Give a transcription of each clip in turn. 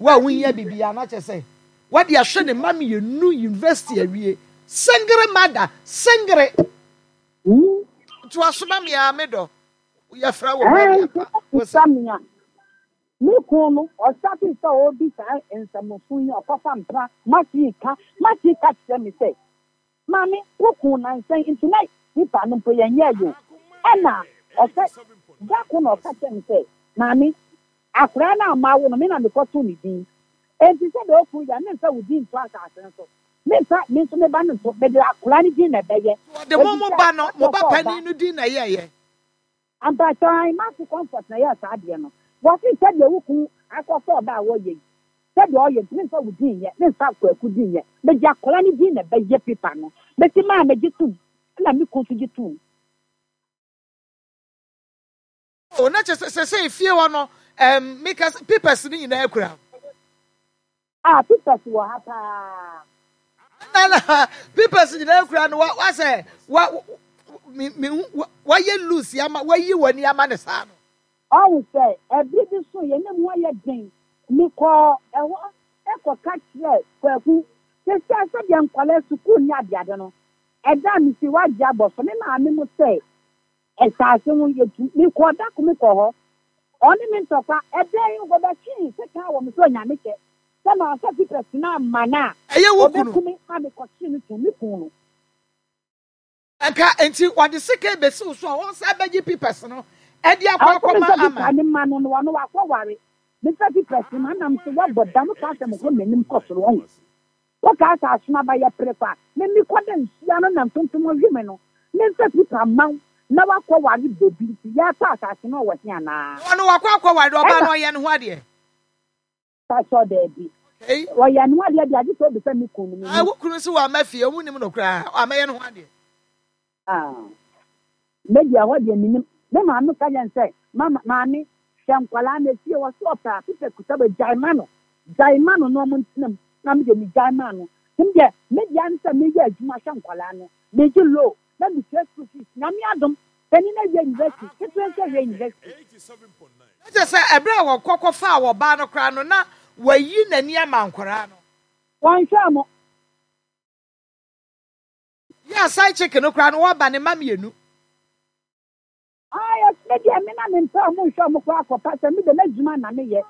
Wo a wonhia biribiara na kyerɛ sɛ wode ahwɛ ne mma mmienu university awie. Sengere mother, sengere. Ntoa so ma me ara me dɔ. Yɛfrɛ wo Mary ampa. Wo se. Me kun no, ɔstartee sɛ ɔredi saa nsɛmfo yi, ɔkɔfa mpena, Matthew ka, Matthew ka kyerɛ me sɛ, Maame, wo kun nansa yi nti na paper no mpo yɛnyɛɛ yɛ o. Ɛna ɔsɛ, da ko na ɔka kyerɛ me sɛ, Maame, akwadaa no a mawo no, me na mekɔtoo ne din. Enti sɛdeɛ wo kun yɛ a, memfa wo din nto asase no so. Memfa me nso me ba no nto, mede akwadaa no din na ɛbɛyɛ. So ɔde mo Enti mo sɛ ba no, mo ɔpɛ ba sɛ ɔba. panin no din na ɛyɛeɛ? Mpakyɛw ae Marcy Comfort na ɛyɛɛ saa adeɛ no. Wɔse sɛdeɛ wo kunu akɔfa ɔbaa a wɔyɛ yi, sɛdeɛ ɔyɛ nti memfa wo din nyɛ, memfa Kwaku din nyɛ, mede akwadaa no din na ɛbɛyɛ paper no. Mese maa megye tom, ɛna me kunu nso gye toom. Oh, na kyerɛ sɛ sɛsɛi fie hɔ no, ɛɛm, meka sɛ papers no nyinaa kura wo. Ah, papers wɔ ha paa. Na na papers nyinaa kura no, wa wa sɛ wa me me wa wayɛ loose ama wayi w'ani ama ne saa no. Ɔhu sɛ ɛbere bi so yɛn mu ayɛ den. Mekɔɔ ɛhɔ kɔka kyerɛɛ Kwaku. Seesei sɛdeɛ nkwadaa sukuu ne adeade no, ɛda a mesi wagye abɔ so. Me maame mo sɛ Asase ho yɛtu. Mekɔɔ da ko mekɔɔ hɔ. Ɔne me ntɔkwa. Ɛbɛn yi wɔbɛtwee sekan wɔ me so Onyame kyɛ sɛ mamfa papers no amma no a Ɛyɛ wo kunu. ɔbɛku me ma mekɔkyee no tum. Me kunu no. Nka nti wɔde sekan bɛsi wo so a wɔnsan bɛgye papers no de akɔ Ɔse akɔma memfa ama. paper no mma no no ɔno wakɔware. Memfa papers no ma no na mese woabɔ dam wokaa sɛ mekɔ m'anim kɔ soro wahu. Wokaa sɛ asono aba yɛ pere kwa me mekɔ da nsuo ano na ntontom hwe me no memfa pipa mma wo na woakɔ ware bɛbi nti yɛatɔ asase no ɔwɔ he anaa? Na ɔno wakɔ akɔware ɔbaa Ɛna. no ɔyɛ ne ho adeɛ. Pastor daabi. Okay. Ɔyɛ ne ho adeɛ deɛ agye sɛ obisa me kunu no Ah, mennim. wo kunu nso wamma fie, ɔmo nim no koraa, wammɛyɛ ne ho adeɛ. Ah. Me deɛ ɛhɔ deɛ mennim. Me maame ka kyerɛ no sɛ, Mama, maame, hwɛ nkwadaa no efie hɔ, sɛ ɔpɛ a, Peter kuta bɛ, gyae ma no, gyae ma no na wɔntena mu. Na me deɛ megyae maa no. Nti me deɛ, me deɛ ara ne sɛ meyɛ adwuma hwɛ nkwadaa no, megye loan na metua school fees. Nyame adom, panin no awie university, ketewa nso awie university. Na kyerɛ sɛ ɛberɛ a wɔkɔ kɔfaa ɔbaa no koraa no, na wayi n'ani ama nkwadaa no. Wɔnhwɛɛ mo. Yɛ a side chick no koraa no waba ne mma mmienu. Ah yes me deɛ me na me mpɛ ɔmo nhwɛ ɔmo koraa kɔ pa sɛ me deɛ m'adwuma na me yɛ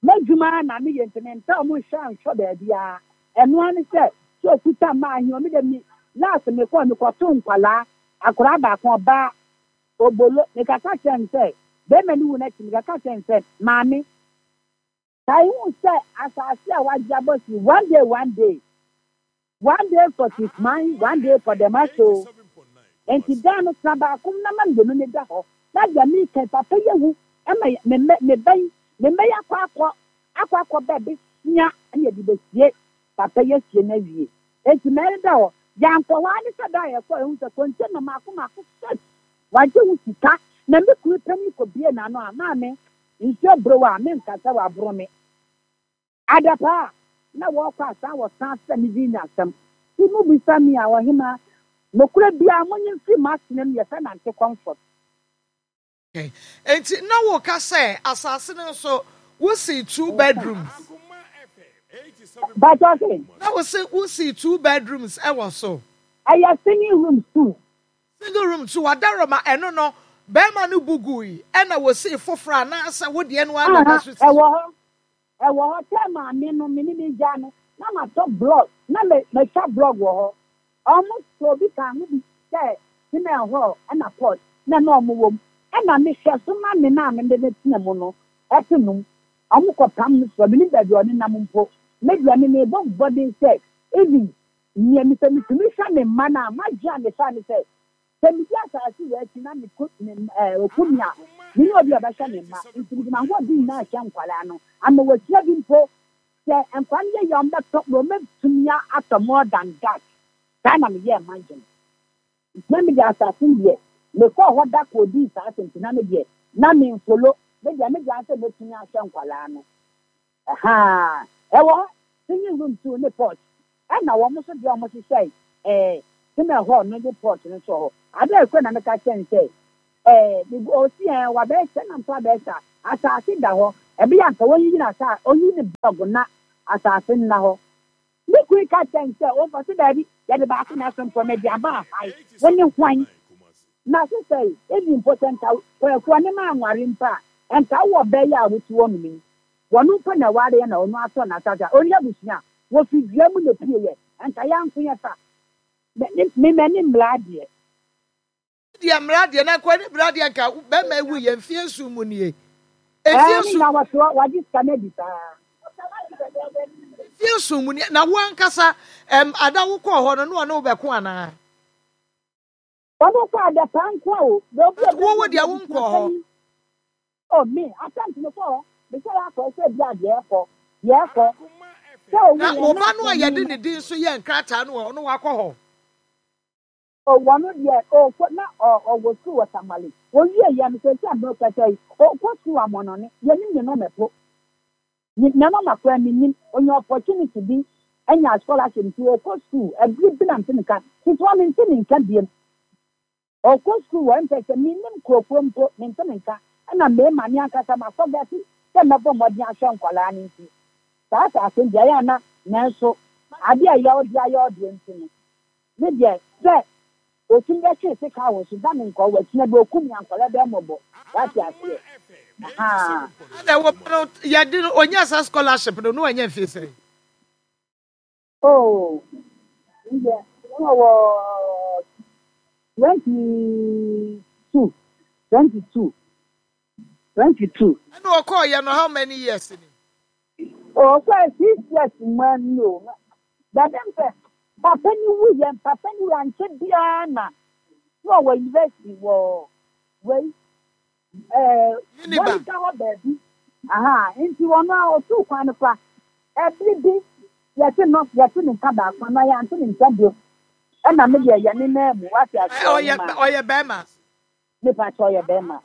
m'adwuma ara na me yɛ nti me mpɛ ɔmo nhwɛ nhwɛ baabiara ɛno ara ne sɛ sɛ okuta mmaa ahe o me deɛ me last me kɔɔ me kɔ too nkwalaa akwadaa baako ɔbaa obolo me kaka kyerɛ no sɛ bɛɛma no wu n'akyi me kaka kyerɛ no sɛ maame Kae hu sɛ asase a wɔagye abɔ si one day one day, one day for Chief Man, one day for the Maso. Enti dan no tena baako mu na ma mmienu no da hɔ. Na deɛ mereka yi, papa yi awu ma me mma, me ba yi, me mma yi akɔ akɔ, akɔ akɔ bɛ bɛsua na yɛde bɛsie papa yi asie no awie. Enti mɛreda hɔ. Yɛankɔ hɔ ara ne sɛ da a yɛkɔɔ yɛhu sɛ container mmaako mmaako six, wɔagye ho sika. Na me kunu panin kɔbuee n'ano a, maame, Nsuo boro wo a, menka sɛ waboro me. Adapaa a na wɔrekɔ asan wɔsan frɛ me din asɛm. Nti mobisa me a, ɔhemaa, nokorɛ biara monye mfiri m'asene mu yɛfrɛ no Ante Comfort. Enti na woka sɛ asase no nso wosii two bedrooms. Mpakyɛw se? Na wose wosii two bedrooms wɔ so. Ɛyɛ singing rooms two. Single room so wadaroma ɛno no bɛɛma no bu gui ɛna wɔsii foforɔ anaasɛ wo deɛ no ara na Aha ɛda so si ɛwɔ so? hɔ ɛwɔ hɔ sɛ maame no me ne me gyaa no na matɔ blog na me matwa blog wɔ hɔ ɔmo tɔɔ bi kaa ho bi sɛ cement hall ɛna pot na na ɔmo wɔ mu ɛna me hwɛ so ma me na me de no tena mu no ɛte nom ɔmo kɔ pam no soɔ menim baabi a ɔne nam mpo me deɛ me mebɔ mmɔden sɛ even Nea mepɛ mitumi hwɛ me mma no a, m'adwene a mefa ne sɛ, sɛ midi asase wei akyi na meku me ɛɛ oku me a, menni obi a ɔbɛhwɛ me mma. Nti mede m'ahoɔden nyinaa hwɛ nkwadaa no. Ama wɔahyia bi mpo, sɛ nkwadaa no yɛ yie a, wɔbɛtɔ, wɔbɛtumi atɔ more than that. Saa na meyɛɛ m'adwene. Nti na mede asase no deɛ, mekɔɔ hɔ da kɔdii saa asɛm nti na me deɛ, na memfolo. Me deɛ, me deɛ ara sɛ mɛtumi ahwɛ nkwadaa no. Ahaa, ɛwɔ hɔ, singing room too ne porch, ɛna wɔn nso deɛ wɔn hyehyɛe ɛɛ singing hall no ne porch no nso wɔ hɔ. Ade a ɛkura na meka kyerɛ no sɛ ɛɛ me bu ɔsi ɛɛ wabɛyɛ sɛ na nso abɛyɛ saa, asaase da hɔ, Ɛbɛyɛ a anka wɔnyiyi n'asa ɔnyi ne blɔg na asase nna hɔ. Me kunu ka kyerɛɛ me sɛ ɔmfa so daabi, yɛde baako na ɛso mpo mede aba ahae. Wo ne hwan? Na sesɛe, even mpo sɛ nka Kwaku ɔne me anware mpo a, nka wowɔ ɔbaa yi a wote hɔnom yi, wɔno mpo na ɛwareɛ na ɔno atɔ n'asase a, ɔnni abusua a, wɔfiri dua mu na ɛpueeɛ, nka yɛanko yɛfa. Me, me, m'ani mmra adeɛ. Deɛ mmara deɛ na nka ɔne bra deɛ nka bɛrima ewu yɛ mfie nson mu nie. Mfie nson. Ɛɛ ne nyinaa wɔte hɔ wagye sika no adi saa. Mfie nson mu nie na wo ankasa ɛm ada wo kɔɔ hɔ no na ɔne wo bɛko anaa. Ɔno kɔ adapaa nko a o. Wo wo deɛ wo nkɔɔ hɔ. Oh me attempt me kɔ hɔ me sɛ yɛ akɔ sɛ bi a deɛ ɛkɔ deɛ ɛkɔ sɛ owu yɛ na wo ba no a yɛde ne din nso yɛ nkrataa no ɔno wakɔ hɔ. Oh wɔno deɛ ɔkɔ na ɔwɔ sukuu wɔ Tamale owie yɛ no sɛsi a mekasa yi ɔkɔ sukuu amɔnɔne yɛnim ne nɔma po ne nɔma koraa menim onya opportunity bi anya scholarship nti ɔkɔ sukuu ɛbere bi na nte ne nka sisi wa mente ne nka biem ɔkɔ sukuu wɔ mpɛ sɛ menim kurokuro mpo mente ne nka ɛna mmarima me ankasa makɔ gɛse sɛ mɛbɔ mmɔden ahwɛ nkwadaa no nti saa asase deɛ ɛyɛ ana nanso adeɛ a ɛyɛ ɔde ayɛ ɔdeɛ nti no Me deɛ sɛ otumi bɛtwee sekan wɔ so da me nkɔɔ wakyina bi okum me ankɔlɛ bɛɛ mɔbɔ wate aseɛ ahaa. Ɛna wo ba no yɛde no onyaa saa scholarship no na wanya mfie sɛn? Oh me deɛ na ɔwɔ 22 22 22. Ɛna ɔkɔɔyɛ no how many years ni? Ɔkɔɛ 6 years mu ani o Dɛm sɛ papa no wuiɛ, papa no wuiɛ ankyɛ biara na na ɔwɔ university wɔ wei ɛɛ Bolga hɔ baabi. Aha, nti ɔno a ɔtuu kwan no fa ɛbere bi yɛte no yɛte ne nka baako anaa yɛante ne nka bio. Ɛna me deɛ yɛ ne nan mu wate aseɛ ɔyɛ ɔyɛ bɛrima. Mepa kyɛ ɔyɛ bɛrima.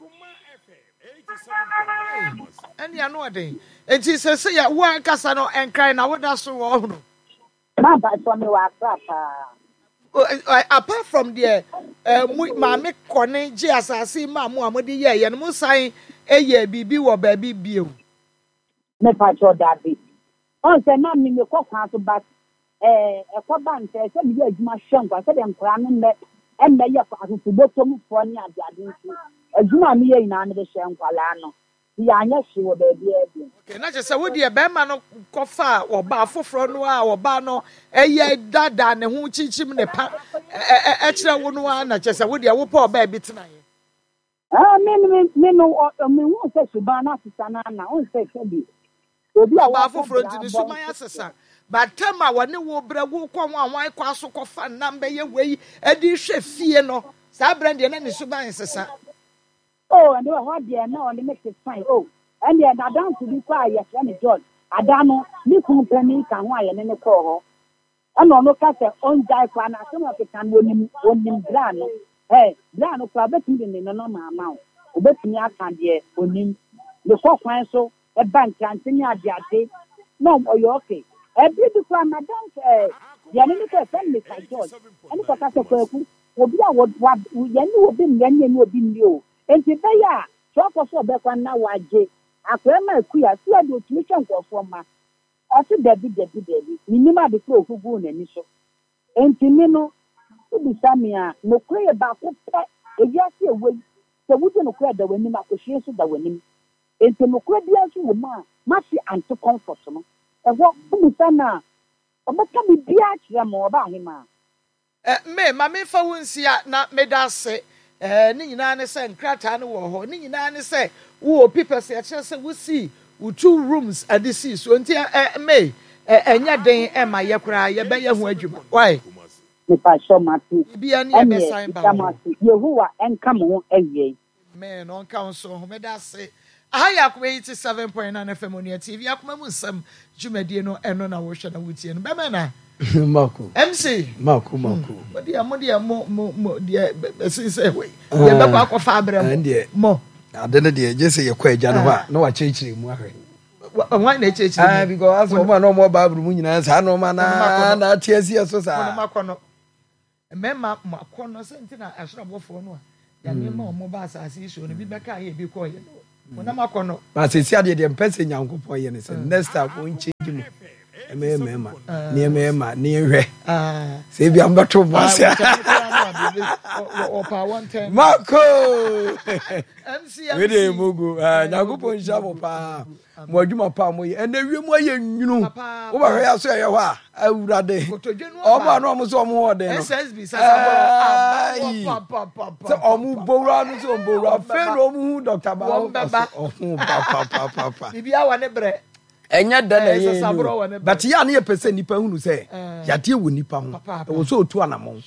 Ɛne ano ɔden. Nti sɛ yɛ wo ankasa no nkran na woda so wɔ ɔhono. Mepa kyɛ me wɔ Accra paa. Apart from deɛ mo maame kɔne gye asase maa mo a mode yɛɛyɛ no mo san yɛ biribi wɔ baabi bio. Mepa kyɛ dabi. Ɔn sɛ na me mekɔ kwan so but ɛɛ ɛkɔ ba nsɛ sɛ meyɛ adwuma hwɛ nkwa sɛdeɛ nkwadaa no mmɛ mmɛyɛ asosobotomfoɔ ne adeade nti adwuma a meyɛ nyinaa mede hyɛ nkwadaa no nti yɛanyɛ hwee wɔ baabiara bio. Okay, na kyerɛ sɛ wo deɛ bɛrima no kɔfaa ɔbaa foforɔ no a ɔbaa no ɛyɛ daadaa ne ho kyinkyim ne pa ɛkyerɛ wo no ara na kyerɛ sɛ wo deɛ wopɛ ɔbaa bi tenaeɛ. Ah, me me me no me hu sɛ suban no asesa no ana ɔn sɛ sɛbi obi a Ɔbaa wɔkɔ foforɔ bra nti ne bɔ suban asesa. But time a wɔne wo brɛ wo kɔ ho a wɔn kɔ aso kɔfa nnam bɛyɛ wei ɛde hwɛ fie no saa berɛ deɛ na ne suban nsesa. Oh, ɛnde wɔ hɔ deɛ na ɔne me te fine. Oh, ɛndeɛ n'adamfo bi kɔ a yɛfrɛ no George. Ada no, me kunu panin ka ho a yɛne no kɔɔ hɔ. Ɛna ɔno ka sɛ ɔngyae koraa na asɛm a ɔkeka no ɔnim, ɔnim bra no. Hey, bra no koraa ɔbɛtumi de ne nɔnɔma ama wo. Ɔbɛtumi aka deɛ ɔnim. Mekɔ kwan so ba nkrante ne adeade na ɔyɛ okay. Ɛbere bi koraa m'adamfo ɛɛ, deɛ ne ne kɔ yɛfrɛ no Mister George ɛne kɔka sɛ Kwaku, obi a wɔ wa yɛne obi mmrɛ ne yɛne obi nni o. Enti ɛbɛyɛ a sɛ ɔkɔ so ɔbɛkɔ na wagye akwadaa ma akua, akua deɛ ɔtumi hwɛ nkurɔfoɔ mma. Ɔse dabi dabi dabi, mennim ade korɔ a ɔhuguu n'ani so. Enti me no, wobisa me a, nokorɛ yɛ baako pɛ, ewiase a ɛwɔ yi, sɛ wodi nokorɛ a ɛda w'anim, akɔhwie nso da w'anim. Enti nokorɛ biara nso wɔ mu a, m'ase ante comfort no. Ɛhɔ, wobisa no a, ɔbɛka biribiara akyerɛ mo, ɔbaahemaa. Me, ma memfa wo nsia, na meda ase. Eh, ne nyinaa ne sɛ nkrataa no wɔ hɔ. Ne nyinaa ne sɛ wowɔ papers a ɛkyerɛ sɛ wosii wo two rooms de sii so. Nti, eh, me, eh, ɛnyɛ den ɛma yɛ koraa, yɛbɛyɛ ho adwuma. Wai? Mepakyɛw mate. Biribiara ni Ɛneɛ yɛbɛsan ba meda wɔ mo hɔ. ase. Yehowa nka mo ho awiei. Amen ɔnka wo nso ho meda ase. Aha yɛ Akoma 87.9 FM Onua TV Akoma mu nsɛm dwumadie no ɛno na wohwɛ na wotie no bɛmɛ na Mako. MC Mako mako. Mo deɛ mo deɛ mo mo mo deɛ ɛsen sɛ wei deɛ bɛkɔ akɔfa abrɛ mo deɛ mo. Ade no deɛ gye sɛ yɛkɔ agya no hɔ a na wakyerɛkyerɛ mu ahwɛ. Wɔn na ɛkyerɛkyerɛ mu. Because asɛ wɔn a na wɔn wɔ Bible mu nyinaa saa nneɛma na na ate aseɛ so saa. Wɔn akɔ no. Mmarima mo akɔnnɔ, sɛ nti na asoro abɔfoɔ no a Nyame ma wɔn ba asase yi soɔ no, bi bɛkaa yɛ, bi kɔɔyɛ no. Honam akɔnnɔ. Ba sɛsi adeɛ deɛ mpɛ sɛ Nyankopɔn yɛ ne sɛ next time wɔn change mu ɛmɛyɛ mɛɛma ne ɛmɛyɛ ma ne yɛnhwɛ sɛ ebi a mbɛto bɔ ase mako wei deɛ mogo Nyankopɔn nhyira mo paa mo adwuma pa a moyɛ ɛnɛ wiem ayɛ nwunu wobɛhwɛ yɛ so ɛyɛ hɔ a awurade ɔmo a na ɔmo sɛ ɔmo wɔ den no sɛ ɔmo bowura no sɛ ɔmo bowura afei na ɔmo hu dɔkta baako ɔmo papapapa ɛnyɛ dɛ na ɛyɛ ni o but yɛ a ne yɛpɛ sɛ nnipa hunu sɛ yadeɛ wɔ nnipa ho ɛwɔ sɛ ɔtu anammɔn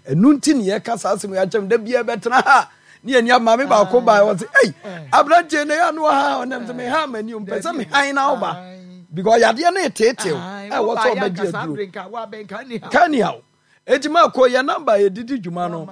ɛno nti ne yɛka saa asɛm yɛakyɛm da biara bɛtena ha ne yɛni maame baako baa wɔ sɛ ei aberanteɛ na yɛ ano ha ɔnam sɛ meha m'ani o mpɛ sɛ mehan na woba because yadeɛ no eteetew ɛwɔ sɛ ɔbɛgye aduro ka ni haw Eti ma kɔ yɛ namba a yɛde di dwuma no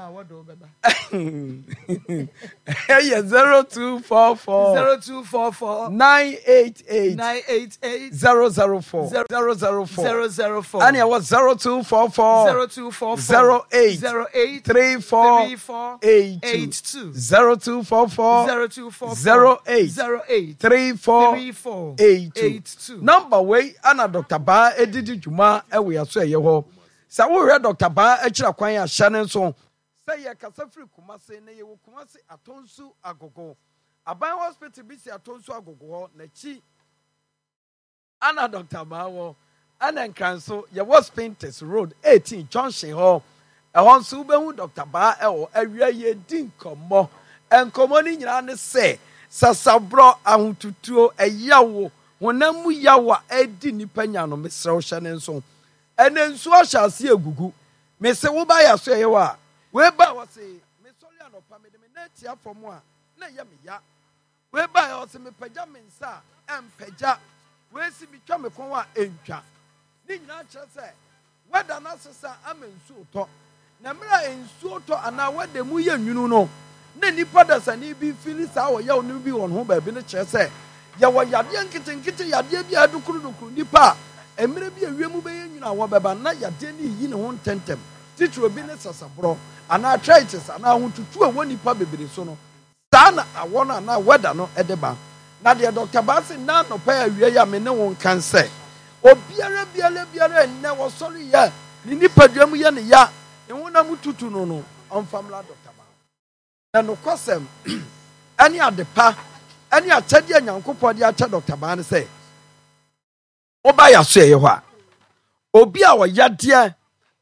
ɛyɛ 0244 0244 988 988 004 004 004 ɛne ɛwɔ 0244 0244 08 08 34 34 82 82 0244 0244 08 08 34 34 82 82. Namba wei ana Dr. Baa ɛdidi dwuma ɛwɔ yɛso ɛyɛ hɔ. Sɛ worehwɛ Dɔkta Baa akyiri akwan a, hyɛ no nso sɛ yɛrekasa firi Kumase na yɛwɔ Kumase Atonsu Agogo. Aban Hospital bi si Atonsu Agogo hɔ, n'akyi ana Dɔkta Baa wɔ. Ɛna Nkran nso, yɛwɔ Spintex Road 18 Junction hɔ. Ɛhɔ nso wobɛhu Dɔkta Baa wɔ. Awia yɛredi nkɔmmɔ. Nkɔmmɔ no nyinaa ne sɛ, sasaborɔ, ahotutuo, ɛyawo, honam mu yaw a ɛredi nnipa nya no, mesrɛ wo hyɛ no nso. Ɛnɛ nsuo ahyɛ aseɛ regugu. Mese wo ba yɛ aso ɛyɛ wo a. Wei bae ɔse me sɔre anɔpa mede me nan tia fam a na ɛyɛ me ya. Wei bae ɔse me pagya me nsa a ɛmpagya. Wei se me twa me kɔn a ɛntwa. Ne nyinaa kyerɛ sɛ weather no asesa ama nsuo retɔ. Na mmerɛ a nsuo tɔ anaa weather mu yɛ nwunu no, na nnipa dasani bi fili saa ɔyaw no bi wɔ ne ho baabi no kyerɛ sɛ yɛwɔ yadeɛ nketenkete, yadeɛ bi a ɛdokorodokoro nnipa a mmerɛ bi a wiem bɛyɛ nwunu a wɔbɛba na yadeɛ no reyi ne ho ntɛmntɛm, titiriw bi ne sasaborɔ anaa arthritis anaa ahotutuo a ɛwɔ nnipa bebree so no. Saa na awɔ no anaa weather no de ba. Na deɛ Doctor Bassey nnɛ anɔpa yi awia yi a me ne wo nka nsɛ, obiara biara biara nnɛ ɔsɔre yɛ ne nipadua mu yɛ ne ya, ne honam tutu no no, ɔmfa mmra Doctor Bassey. Na nokwasɛm ne adepa ne akyɛdeɛ a Nyankopɔn de akyɛ Doctor Baa ne sɛ, Woba yɛasoɛeɛ hɔ a, obi a ɔyadeɛ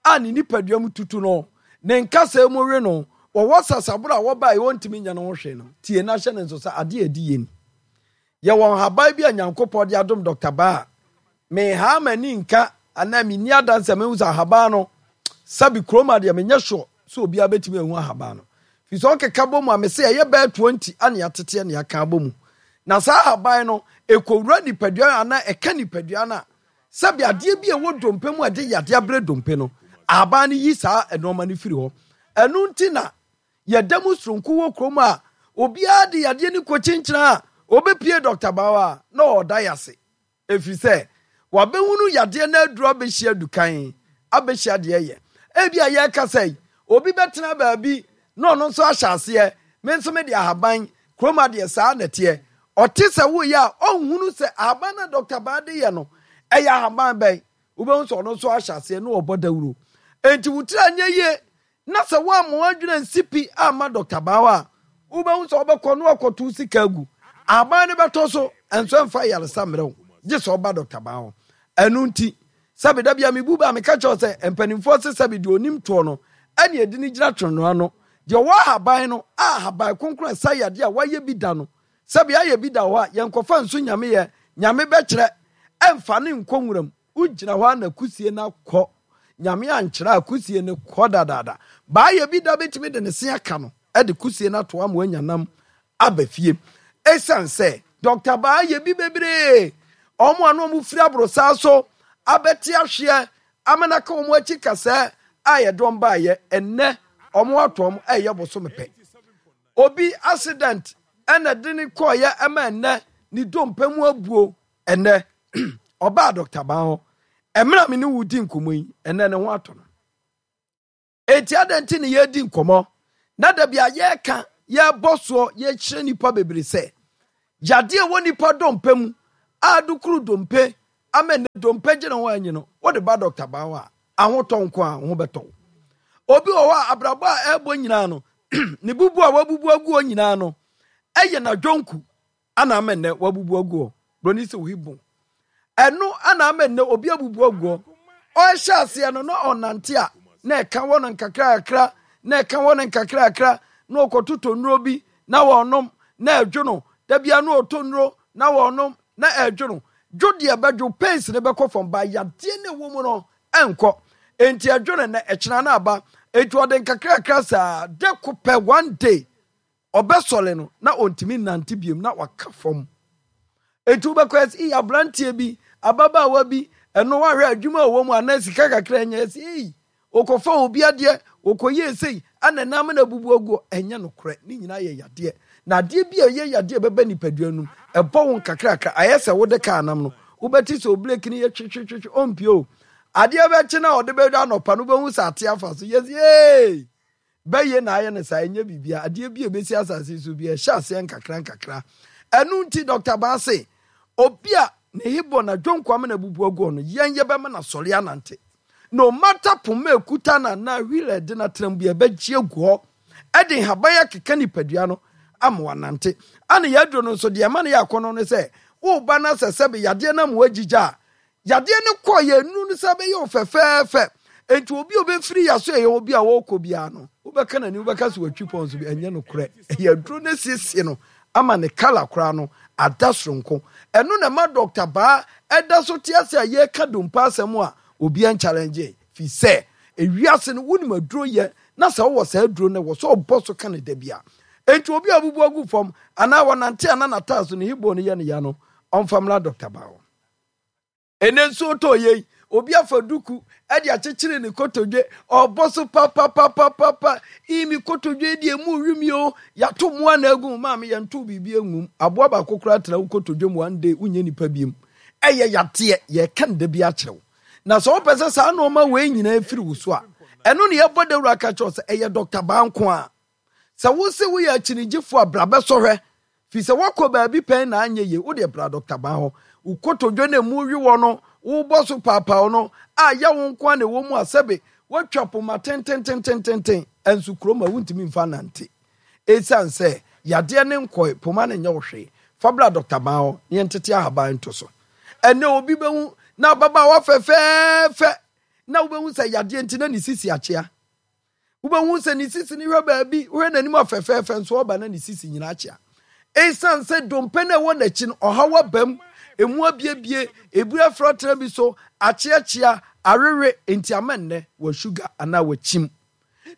a ne nipadua mu tutu no, ne nkasɛɛ mu we no, wɔwɔ sasaboro a wɔba a wɔntumi nyɛ no ho hwee no, tie na hyɛ no nso sɛ adeɛ a ɛdi yie ni. Yɛwɔ nhaban bi a Nyankopɔn de adom Dɔkta Baa a menhaa m'ani nka anaa menni adanse a mehu sɛ ahaban no, sɛbi kurom adeɛ menyɛ sure sɛ obiara bɛtumi ahu ahaban no. Firi sɛ ɔkeka bɔ mu a mese ɛyɛ bɛyɛ 20 ane ateteɛ ne aka abɔ mu. Na saa ahaban no, ɛkɔwura nipadua no anaa ɛka nipadua no a, sɛbi adeɛ bi a ɛwɔ dompe mu a ɛde yadeɛ abrɛ dompe no, ahaban no yi saa nnoɔma no firi hɔ. Ɛno nti na yɛda mu soronko wɔ kurom a obiara de yadeɛ no kɔkyinkyina a ɔbɛpie Dɔkta Bawa a na ɔda yase. Ɛfiri sɛ wabɛhunu yadeɛ no aduru abɛhyia dukan, abɛhyia deɛ ɛyɛ. Ebia yɛrekasa yi, obi bɛtena baabi na ɔno nso ahyɛ aseɛ, me nso mede ahaban, kurom adeɛ saa na ɛteɛ. Ɔte sɛ woyɛ a, ɔnhunu sɛ ahaban no a Dɔkta Baa de yɛ no, ɛyɛ ahaban bɛn. Wobɛhu sɛ ɔno nso ahyɛ aseɛ na ɔbɔ dawuro. Enti wo tiri anyɛ yie na sɛ woamma w'adwene ansi pi amma Dɔkta Baa a, wobɛhu sɛ wobɛkɔ na wakɔto sika agu. Aban no bɛtɔ so nso ɛmfa ayaresa mmerɛ wo, gye sɛ ɔba Dɔkta Baa hɔ. Ɛno nti, sɛbe da bia mebu bɛ a meka kyerɛ wo sɛ mpanimfoɔ se sɛbe deɛ ɔnim toɔ no ɛne ɛdi no gyina twennoa no. Deɛ ɔwɔ ahaban no a ahaban kronkron a ɛsa yadeɛ a wayɛ bi da no, sɛbe ayɛ bi da hɔ a yɛnkɔfa nso Nyame yɛ, Nyame bɛkyerɛ, ɛmfa no nkɔ nwuram. Wogyina hɔ a na kusie no akɔ. Nyame ankyerɛ a kusie no kɔ dadaada. Baayɛ bi da bɛtumi de ne se aka no de kusie no ato ama wanya nam aba fie. Esiane sɛ Dɔkta Baayɛ bi bebree, wɔn a na wɔfiri aborosaa so abɛte ahweɛ ama no aka wɔn akyi kasɛɛ a yɛde wɔn baayɛ, ɛnnɛ wɔn ato wɔn ɛyɛ bosome pɛ. Obi accident ɛna de ne kɔɔyɛ ɛma ɛnnɛ ne dompe mu abuo. Ɛnnɛ, ɔbaa Dɔkta Ban hɔ. Mmerɛ a me ne wo di nkɔmmɔ yi, ɛnnɛ ne ho atɔ no. Enti adɛn nti ne yɛredi nkɔmmɔ na da bi a yɛreka, yɛrebɔ soɔ, yɛrekyerɛ nnipa bebree sɛ, Yadeɛ a ɛwɔ nipa dompe mu a adukuru dompe ama nnɛ dompe gye ne ho anyi no, wode ba dɔkta baa hɔ a, ahotɔ nko a wo ho bɛtɔ wo. Obi wɔ hɔ a abrabɔ a ɛrebɔ nyinaa no, ne bubu a wabubu agu hɔ nyinaa no, ɛyɛ n'adwonku ana ama nnɛ wabubu agu hɔ. Broni sɛ ohi bon. Ɛno ana ama nnɛ obi abubu agu hɔ. Ɔrehyɛ aseɛ no na ɔnante a na ɛka wɔ no nkakrakra na ɛka wɔ no nkakrakra na ɔkɔtotɔ nnuro bi na wɔnom na ɛdwo no. Da bia na ɔtɔ nnuro na wɔnom na ɛdwo no. Dwo deɛ bɛdwo pains no bɛkɔ fam ba yadeɛ no ɛwɔ mu no ɛnkɔ. Enti ɛdwo no nnɛ ɛkyena na aba. Enti ɔde nkakrakra saa de ko pɛ one day Ɔbɛsɔre no, na ɔntumi nnante biom, na waka fam. Enti wobɛkɔ ɛsɛ, ei, aberanteɛ bi, ababaawa bi, ɛno wahwɛ adwuma a ɔwɔ mu anaa sika kakra anya, ɛsɛ, ei, ɔkɔfa obi adeɛ, ɔkɔyɛ sei, ɛna nam na abubu aguɔ. Ɛnyɛ nokorɛ, ne nyinaa yɛ yadeɛ. Na adeɛ bi a ɛyɛ yadeɛ a ɛbɛba nipadua no mu, ɛbɔ wo nkakrakra, ayɛ sɛ wode kaa nam no, wobɛte sɛ obreki no yɛ twetwetwetwe, ɔmpie o. Adeɛ bɛkye no a ɔde bɛdwa anɔpa no, wobɛhu sɛ ate afa so, yɛsi, ei! Bɛyɛ na ayɛ no saa, ɛnyɛ biribiara. Adeɛ bi a ɛbɛsi asase yi so bi, ɛhyɛ aseɛ nkakra nkakra. Ɛno nti, Dɔkta Baa se, obi a ne hibɔ na dwonko amena abubu aguɔ no, yɛn yɛbɛma no asɔre anante. No matter poma a ɛkuta no anaa wheel a ɛde no atena mu bi, ɛbɛgye agu hɔ de nhaban akeka nipadua no ama wanante. Ana yɛn aduro no nso, deɛ ɛma no yɛ akɔnnɔ ne sɛ, woreba na sɛ sɛbe yadeɛ no ama woagyigya a, Yadeɛ no kɔ yɛn nnuru no san bɛyɛ wo fɛfɛɛfɛ. Enti obi a ɔbɛfiri yɛaso ɛyɛ obi a ɔrekɔ biara no, wobɛka n'ani wobɛka sɛ watwi pɔn so bi. Ɛnyɛ nokorɛ. Ɛyɛ aduro no asiesie no ama ne kala koraa no ada soronko. Ɛno na ɛma Dɔkta Baa ɛda so te ase a yɛreka dompe asɛm a obiara nkyalɛngye yɛn. Firi sɛ ewiase no wonim aduro yɛ na sɛ wowɔ saa aduro no ɛwɔ sɛ ɔbɔ so ka no da biara. Enti obi a abubu agu fam anaa ɔnante a na n'ataaso ne hip bone no yɛ no ya no, ɔmfa mmra Dɔkta Baa hɔ. Ɛnɛ nsuo tɔ yei, obi afa duku de akyekyere ne kotodwe, ɔbɔ so papapapapapa. Ii me kotodwe deɛ mu wi mi o, yɛato mmoa na agu mu, maame yɛnto biribi angum. Aboa baako koraa tena wo kotodwe mu one day wonyɛ nipa biem. Ɛyɛ yadeɛ, yɛka no da bi akyerɛ wo. Na sɛ wopɛ sɛ saa nneɛma wei nyinaa firi wo so a, ɛno ne yɛbɔ dawuro aka kyerɛ wo sɛ ɛyɛ Dɔkta Baa nko ara. Sɛ wose woyɛ akyinigyefo a, bra bɛsɔ hwɛ. Firi sɛ woakɔ baabi pɛn na anyɛ yie, wo deɛ bra Dɔkta Ban hɔ. Wo kotodwe no a emu we wɔ no, wobɔ so paapaaw no, a yaw nko ara na ɛwɔ mu a sɛbe woatwa poma tententententen nso kurom a wontumi mfa nnante. Esiane sɛ yadeɛ no nkɔe, poma no nyɛ wo hwee. Fa bra Dɔkta Ban hɔ na yɛntete ahaban nto so. Ɛnnɛ obi bɛhu n'ababaawa fɛfɛɛfɛ na wobɛhu sɛ yadeɛ nti na ne sisi akyea. Wobɛhu sɛ ne sisi no hwɛ baabi, wohwɛ n'anim a fɛfɛɛfɛ nso ɔba na ne sisi nyinaa akyea. Esiane sɛ dompe no a ɛwɔ n'akyi no, ɔhaw aba mu, emu abiebie, ebi afra tena bi so, akyeakyea, awewe, enti ama nnɛ wɔ sugar anaa wakyim.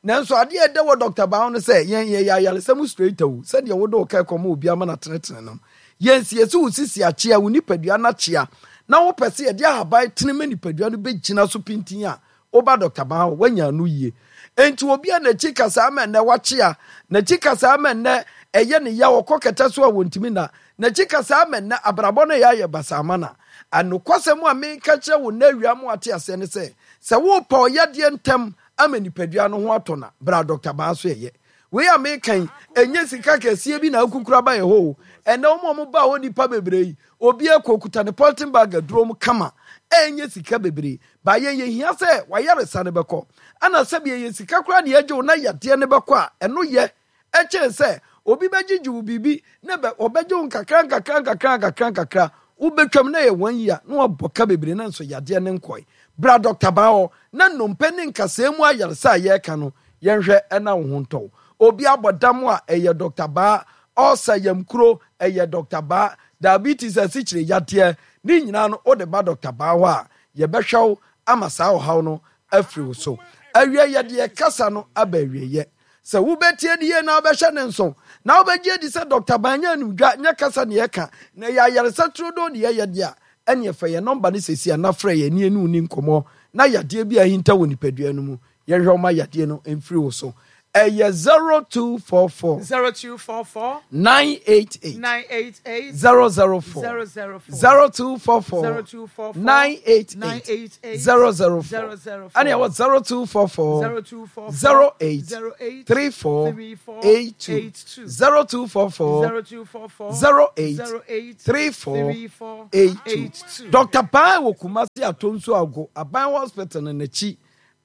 Nanso adeɛ a ɛdɛ wɔ Dɔkta Baa ho no sɛ, yɛn yɛyɛ ayaresa mu straight o, sɛdeɛ wode wo kaa kɔma obi ama no atenetene no. Yɛn siesie wo sisi akyea, wo nipadua no akyea, na wopɛ sɛ yɛde ahaban tene ma nipadua no bɛgyina so pintinn a, Woba Dɔkta Baa hɔ, woanya ano yie. Enti obi a n'akyi kasaa ma nnɛ wakyea, n'akyi kasaa ma nnɛ ɛyɛ ne yaw, ɔkɔ kɛtɛ so a wɔntumi nna, n'akyi kasaa ma nnɛ abrabɔ no yɛ ayɛ basaa ma no a, nokwasɛm a meka kyerɛ wo nnɛ awia ma woate aseɛ ne sɛ, sɛ worepɛ ɔyadeɛ ntɛm ama nipadua no ho atɔ no a, bra Dɔkta Baa so ɛyɛ. Wei a meka yi, ɛnyɛ sika kɛseɛ bi na akukuru aba yɛ hɔ o. Ɛnnɛ wɔn a wɔbaa hɔ nnipa bebree yi, obiara kɔ okuta ne polythene bag aduro mu kama, ɛnyɛ sika bebree. Ba yɛn yɛhia sɛ w'ayaresa no bɛkɔ. Ɛna sɛbi ɛyɛ sika koraa na yɛgye wo na yadeɛ no bɛkɔ a, ɛno yɛ ɛkyɛn sɛ obi bɛgyegye wo biribi na bɛ ɔbɛgye wo nkakra nkakra nkakra nkakra nkakra wobɛtwam na ɛyɛ one year na wabɔ ka bebree na nso yadeɛ no nkɔe. Bra Dɔkta Baa hɔ na nnompe ne nkasɛɛ mu ayaresa a yɛreka no yɛnhwɛ na wo ho ntɔ wo. Obi abɔ dam a ɛyɛ Dɔkta Baa, ulcer yamkuro ɛyɛ Dɔkta Baa, diabetes asikyire yadeɛ ne nyinaa no wode ba Dɔkta Baa hɔ a Yɛbɛhwɛ wo ama saa ɔhaw no afiri wo so. Awiei yɛde yɛn kasa no aba awieeɛ. Sɛ wobɛtie no yie na wobɛhyɛ no nso, na wobɛgye adi sɛ Dɔkta Ban nyɛ animdwa, nyɛ kasa na yɛka, na ɛyɛ ayaresa turodoo na yɛyɛ deɛ a, ɛnneɛ fa yɛn nɔmba no seesei na frɛ yɛn ne yɛne wo nni nkɔmmɔ na yadeɛ bi a ahinta wɔ nipadua no mu, yɛnhwɛ wo ma yadeɛ no mfiri wo so. Ɛyɛ 0244. 0244. 988. 988. 004. 004. 0244. 0244. 988. 988. 004. 004. Ɛna ɛwɔ 0244. 0244. 08. 08. 34. 34. 82. 82. 0244. 0244. 08. 08. 34. 34. 82. 82. Dr. Paa wɔ Kumasi Atonsu Ago Aban Hospital no n'akyi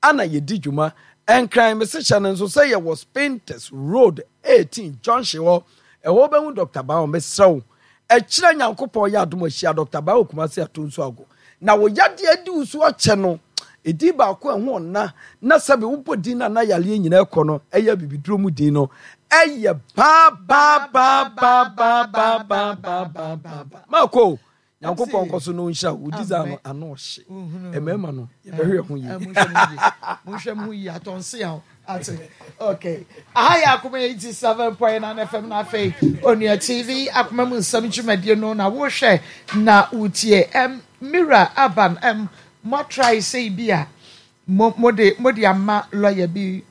ana yɛdi dwuma. Nkran mese hyɛ no nso sɛ yɛwɔ Spintex Road 18 junction hɔ. Ɛhɔ wobɛhu Dr. Baa mesrɛ wo. Ɛkyerɛ Nyankopɔn yɛ adom ahyia Dr. Baa wɔ Kumasi Atonsu Ago. Na wo yadeɛ adi wo so akyɛ no, ɛdin baako a ɛho ɔnna na sɛbe wobɔ din no a na yareɛ nyinaa kɔ no, ɛyɛ abibiduro mu din no, ɛyɛ baa baa baa baa baa baa baa baa baa baa baa. Maako, Nyankopɔn nkɔ so na ɔnhyira wo. Wo design no ano ɔhye. Mmarima no, yɛbɛhwɛ yɛn ho yie. Monhwɛ mo ho yie, atɔnse a ate. Okay. Aha yɛ Akoma 87.9 FM na afei Onua TV Akoma mu nsɛm dwumadie no na wohwɛ na wotie. Um, Mira Aban, um, moatrae sɛ bi a mo mode mode ama lawyer bi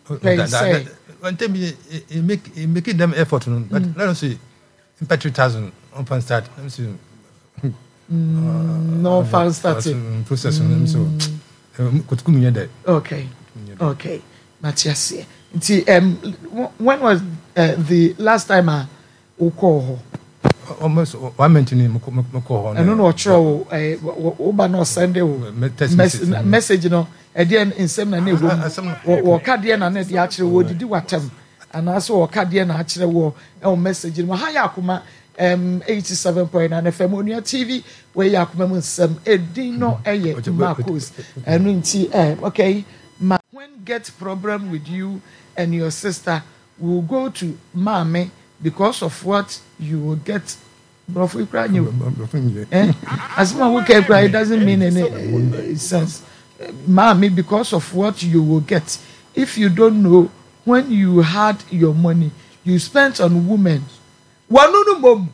pɛn sɛ. Ntɛm bi make make them effort no but let us say mpa 3000 ɔmfa start let us say na ɔmfa start process no so kotoku mu nyɛ dɛ. Okay, okay, mate aseɛ. Nti um, when was the last time a wokɔɔ hɔ? Almost one month ni mekɔɔ hɔ. Ɛno na ɔkyerɛ wo eh, wo ba na ɔsɛnde wo message no ɛdeɛ nsɛm na na ɛwɔ mu wɔka deɛ na na ɛde akyerɛ wɔ odidi watam anaasɛ wɔka deɛ na akyerɛ wɔ ɛwɔ message no mu. Ha yɛ akoma um, 87.9 FM Onua TV wei yɛ akoma mu nsɛm edin no ɛyɛ Marcos ɛno nti eh, okay ma when get problem with you and your sister will go to maame because of what you will get brɔfo yi koraa nye o eh asɛm a woka yi koraa it doesn't mean any eh, sense maame because of what you will get if you don't know when you had your money you spent on women wɔn no mom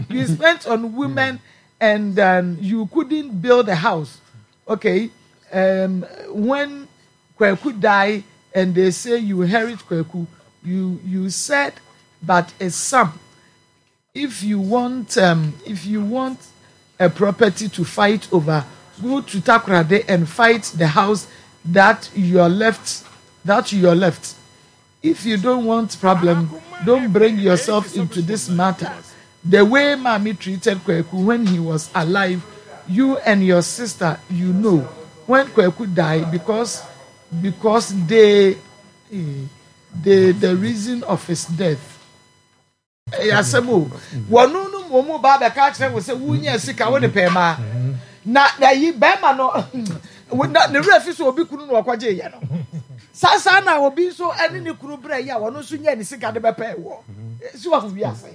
you spent on women and um, you couldn't build a house okay um, when Kweku die and they say you inherit Kweku, you you said but a sum if you want um, if you want a property to fight over, go to Takoradi and fight the house that you're left that you're left. If you don't want problem, don't bring yourself into this matter. The way Mami treated Kweku when he was alive, you and your sister, you know, when Kweku died because because they they the reason of his death. Ɛyɛ asɛm o. Wɔn no mmom ba abɛka akyerɛ wo sɛ wonya sika wode pɛɛ maa. Na ayi bɛrima no na ne werɛ fi so obi kunu na ɔkɔgye yɛ no. Saa saa na obi nso ɛne ne kunu brɛ yi a wɔn nso nya ne sika de bɛpɛɛ wɔ. Si wɔ wiase.